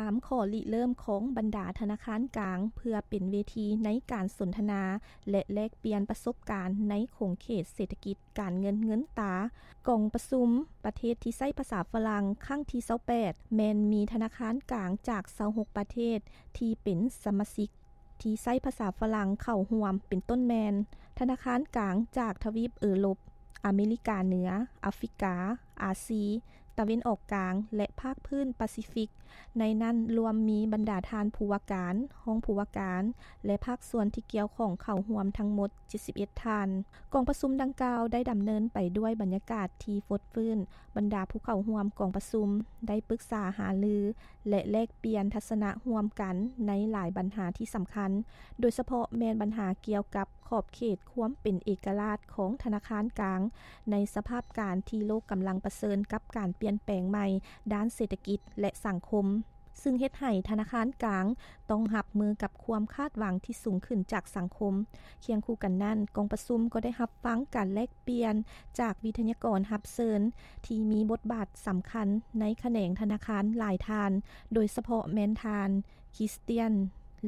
ຕາມຂໍ້ລິເລີ່ມຂອງບັນດາທະນາຄານກາງ ເພື່ອເປັນເວທີໃນການສົນທະນາ ແລະ ແລກປ່ຽນປະສົບການໃນຂົງເຂດເສດຖະກິດ ການເງິນເງິນຕາ. ກອງປະຊຸມປະເທດທີ່ໃຊ້ພາສາຝຣັ່ງຄັ້ງທີຊາວແປດ ແມ່ນມີທະນາຄານກາງຈາກຊາວຫົກປະເທດທີ່ເປັນສະມາຊິກທີ່ໃຊ້ພາສາຝຣັ່ງເຂົ້າຮ່ວມ ເປັນຕົ້ນແມ່ນ ທະນາຄານກາງຈາກທະວີບເອີຣົບ, ອາເມລິກາເໜືອ, ອາຟຣິກາ, ອາຊີ, ຕາເວັນອອກກາງ ແລະ ພາກພື້ນປາຊີຟິກ. ໃນນັ້ນລວມມີບັນດາທ່ານຜູ້ວ່າການ, ຮອງຜູ້ວ່າການ ແລະ ພາກສ່ວນທີ່ກ່ຽວຂ້ອງເຂົ້າຮ່ວມທັງໝົດ ເຈັດສິບເອັດທ່ານ. ກອງປະຊຸມດັ່ງກ່າວໄດ້ດຳເນີນໄປດ້ວຍບັນຍາກາດທີ່ຟົດຟື້ນ, ບັນດາຜູ້ເຂົ້າຮ່ວມກອງປະຊຸມໄດ້ປຶກສາຫາລື ແລະ ແລກປ່ຽນທັດສະນະຮ່ວມກັນໃນຫຼາຍບັນຫາທີ່ສຳຄັນ, ໂດຍສະເພາະແມ່ນບັນຫາກ່ຽວກັບຂອບເຂດຄວາມເປັນເອກະລາດຂອງທະນາຄານກາງ ໃນສະພາບການທີ່ໂລກກຳລັງປະເຊີນກັບການປ່ຽນແປງໃໝ່ດ້ານເສດຖະກິດ ແລະ ສັງຄົມ. ຊຶ່ງເຮັດໃຫ້ທະນາຄານກາງຕ້ອງຮັບມືກັບຄວາມຄາດຫວັງທີ່ສູງຂຶ້ນຈາກສັງຄົມ. ຄຽງຄູ່ກັນນັ້ນ, ກອງປະຊຸມກໍໄດ້ຮັບຟັງການແລກປ່ຽນຈາກວິທະຍາກອນຮັບເຊີນທີ່ມີບົດບາດສຳຄັນໃນຂະແໜງທະນາຄານຫຼາຍທ່ານ, ໂດຍສະເພາະແມ່ນທ່ານ ຄຣິສຕຽນ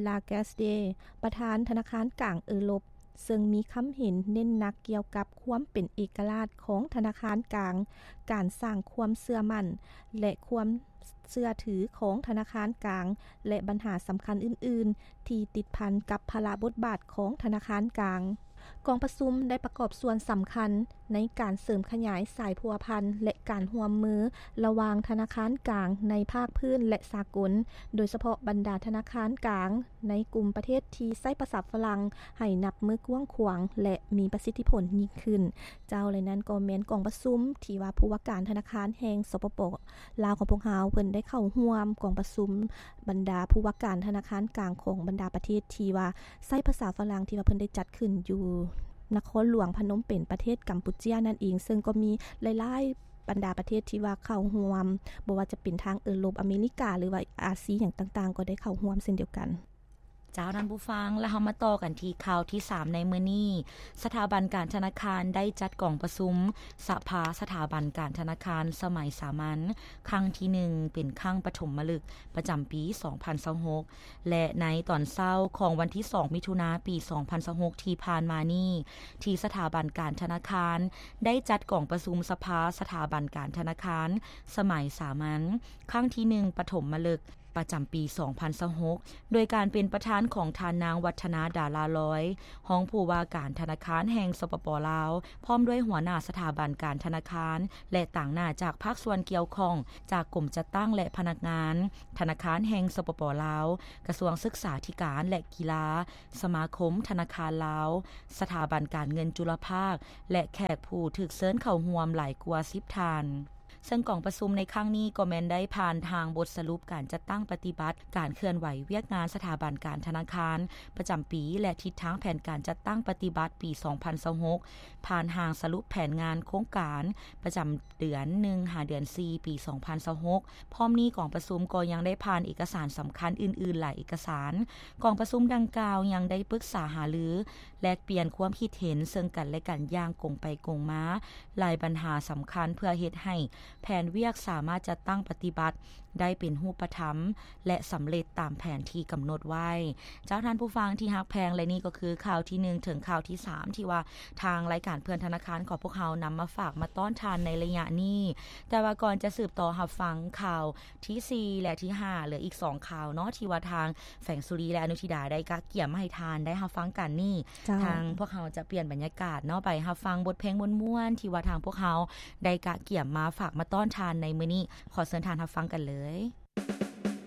ລາແກສເດ ປະທານທະນາຄານກາງເອີຣົບ, ເຊິ່ງມີຄຳເຫັນເນັ້ນໜັກກ່ຽວກັບຄວາມເປັນເອກະລາດຂອງທະນາຄານກາງ, ການສ້າງຄວາມເຊື່ອໝັ້ນ ແລະ ຄວາມເຊື່ອຖືຂອງທະນາຄານກາງ ແລະ ບັນຫາສຳຄັນອື່ນໆ ທີ່ຕິດພັນກັບພາລະບົດບາດຂອງທະນາຄານກາງ. ກອງປະຊຸມໄດ້ປະກອບສ່ວນສຳຄັນໃນການເສີມຂະຫຍາຍສາຍພົວພັນ ແລະ ການຮ່ວມມືລະຫວ່າງທະນາຄານກາງໃນພາກພື້ນ ແລະ ສາກົນ, ໂດຍສະເພາະບັນດາທະນາຄານກາງ ໃນກຸ່ມປະເທດທີ່ໃຊ້ພາສາຝຣັ່ງໃຫ້ນັບມື້ກວ້າງຂວາງ ແລະ ມີປະສິດທິຜົນຍິ່ງຂຶ້ນ. ເຈົ້າ ແລະ ນັ້ນກໍແມ່ນກອງປະຊຸມທີ່ວ່າຜູ້ວ່າການທະນາຄານແຫ່ງ ສປປ ລາວ ຂອງພວກເຮົາ ເພິ່ນໄດ້ເຂົ້າຮ່ວມກອງປະຊຸມບັນດາຜູ້ວ່າການທະນາຄານກາງຂອງບັນດາປະເທດທີ່ວ່າໃຊ້ພາສາຝຣັ່ງ ທີ່ວ່າເພິ່ນໄດ້ຈັດຂຶ້ນຢູ່ນະຄອນຫຼວງພະນົມເປັນ ປະເທດກຳປູເຈຍນັ້ນເອງ, ເຊິ່ງກໍມີຫຼາຍໆ ບັນດາປະເທດທີ່ວ່າເຂົ້າຮ່ວມ, ບໍ່ວ່າຈະເປັນທາງເອີຣົບ, ອາເມລິກາ ຫຼືວ່າອາຊີຫຍັງຕ່າງໆ ກໍໄດ້ເຂົ້າຮ່ວມເຊັ່ນດຽວກັນ. ເຈົ້າ ທ່ານຜູ້ຟັງ, ແລ້ວເຮົາມາຕໍ່ກັນທີ່ຂ່າວທີສາມໃນມື້ນີ້. ສະຖາບັນການທະນາຄານໄດ້ຈັດກອງປະຊຸມສະພາສະຖາບັນການທະນາຄານສະໄໝສາມັນ ຄັ້ງທີໜຶ່ງ ເປັນຄັ້ງປະຖົມມະລຶກ ປະຈຳປີສອງພັນຊາວຫົກ ແລະ ໃນຕອນເຊົ້າຂອງວັນທີສອງ ມິຖຸນາ ປີສອງພັນຊາວຫົກ ທີ່ຜ່ານມານີ້, ທີ່ສະຖາບັນການທະນາຄານໄດ້ຈັດກອງປະຊຸມສະພາສະຖາບັນການທະນາຄານສະໄໝສາມັນ ຄັ້ງທີໜຶ່ງ ປະຖົມມະລຶກ ປ ປະຈຳປີສອງພັນຊາວຫົກ ໂດຍການເປັນປະທານຂອງທ່ານນາງ ວັດທະນາ ດາລາລອຍ ຮອງຜູ້ວ່າການທະນາຄານແຫ່ງ ສປປ ລາວ ພ້ອມດ້ວຍຫົວໜ້າສະຖາບັນການທະນາຄານ ແລະ ຕາງໜ້າຈາກພາກສ່ວນກ່ຽວຂ້ອງ ຈາກກົມຈັດຕັ້ງ ແລະ ພະນັກງານທະນາຄານແຫ່ງ ສປປ ລາວ, ກະຊວງສຶກສາທິການ ແລະ ກິລາ, ສະມາຄົມທະນາຄານລາວ, ສະຖາບັນການເງິນຈຸລະພາກ ແລະ ແຂກຜູ້ຖືກເຊີນເຂົ້າຮ່ວມຫຼາຍກວ່າສິບທ່ານ. ເຊິ່ງກອງປະຊຸມໃນຄັ້ງນີ້ກໍແມ່ນໄດ້ຜ່ານຮ່າງບົດສະຫຼຸບການຈັດຕັ້ງປະຕິບັດການເຄື່ອນໄຫວວຽກງານສະຖາບັນການທະນາຄານປະຈຳປີ ແລະ ທິດທາງແຜນການຈັດຕັ້ງປະຕິບັດປີສອງພັນຊາວຫົກ ຜ່ານຮ່າງສະຫຼຸບແຜນງານໂຄງການປະຈຳເດືອນໜຶ່ງ ຫາເດືອນສີ່ ປີສອງພັນຊາວຫົກ. ພ້ອມນີ້ກອງປະຊຸມກໍຍັງໄດ້ຜ່ານເອກະສານສຳຄັນອື່ນໆຫຼາຍເອກະສານ. ກອງປະຊຸມດັ່ງກ່າວຍັງໄດ້ປຶກສາຫາລື ແລກປ່ຽນຄວາມຄິດເຫັນເຊິ່ງກັນແລະກັນຢ່າງກົງໄປກົງມາ ຫຼາຍບັນຫາສຳຄັນ ເພື່ອເຮັດໃຫ້ແຜນວຽກສາມາດຈັດຕັ້ງປະຕິບັດໄດ້ເປັນຮູບປະທຳ ແລະ ສຳເລັດຕາມແຜນທີ່ກຳນົດໄວ້. ເຈົ້າທ່ານຜູ້ຟັງທີ່ຮັກແພງ ແລະ ນີ້ກໍຄືຂ່າວທີໜຶ່ງເຖິງຂ່າວທີສາມ ທີ່ວ່າທາງລາຍການເພື່ອນທະນາຄານຂອງພວກເຮົານຳມາຝາກມາຕ້ອນທ່ານໃນໄລຍະນີ້. ແຕ່ວ່າກ່ອນຈະສືບຕໍ່ຮັບຟັງຂ່າວທີສີ່ ແລະ ທີຫ້າ ເຫຼືອອີກສອງຂ່າວເນາະ ທີ່ວ່າທາງ ແສງສຸລີ ແລະ ອະນຸທິດາ ໄດ້ກະກຽມມາໃຫ້ທ່ານໄດ້ຮັບຟັງກັນນີ້ ເຈົ້າ ທາງພວກເຮົາຈະປ່ຽນບັນຍາກາດເນາະ ໄປຮັບຟັງບົດເພງມ່ວນໆ ທີ່ວ່າທາງພວກເຮົາໄດ້ກະກຽມມາຝາກມາຕ້ອນທ່ານໃນມື້ນີ້. ຂໍເຊີນທ່ານຮັບຟັງກັນເລີຍ.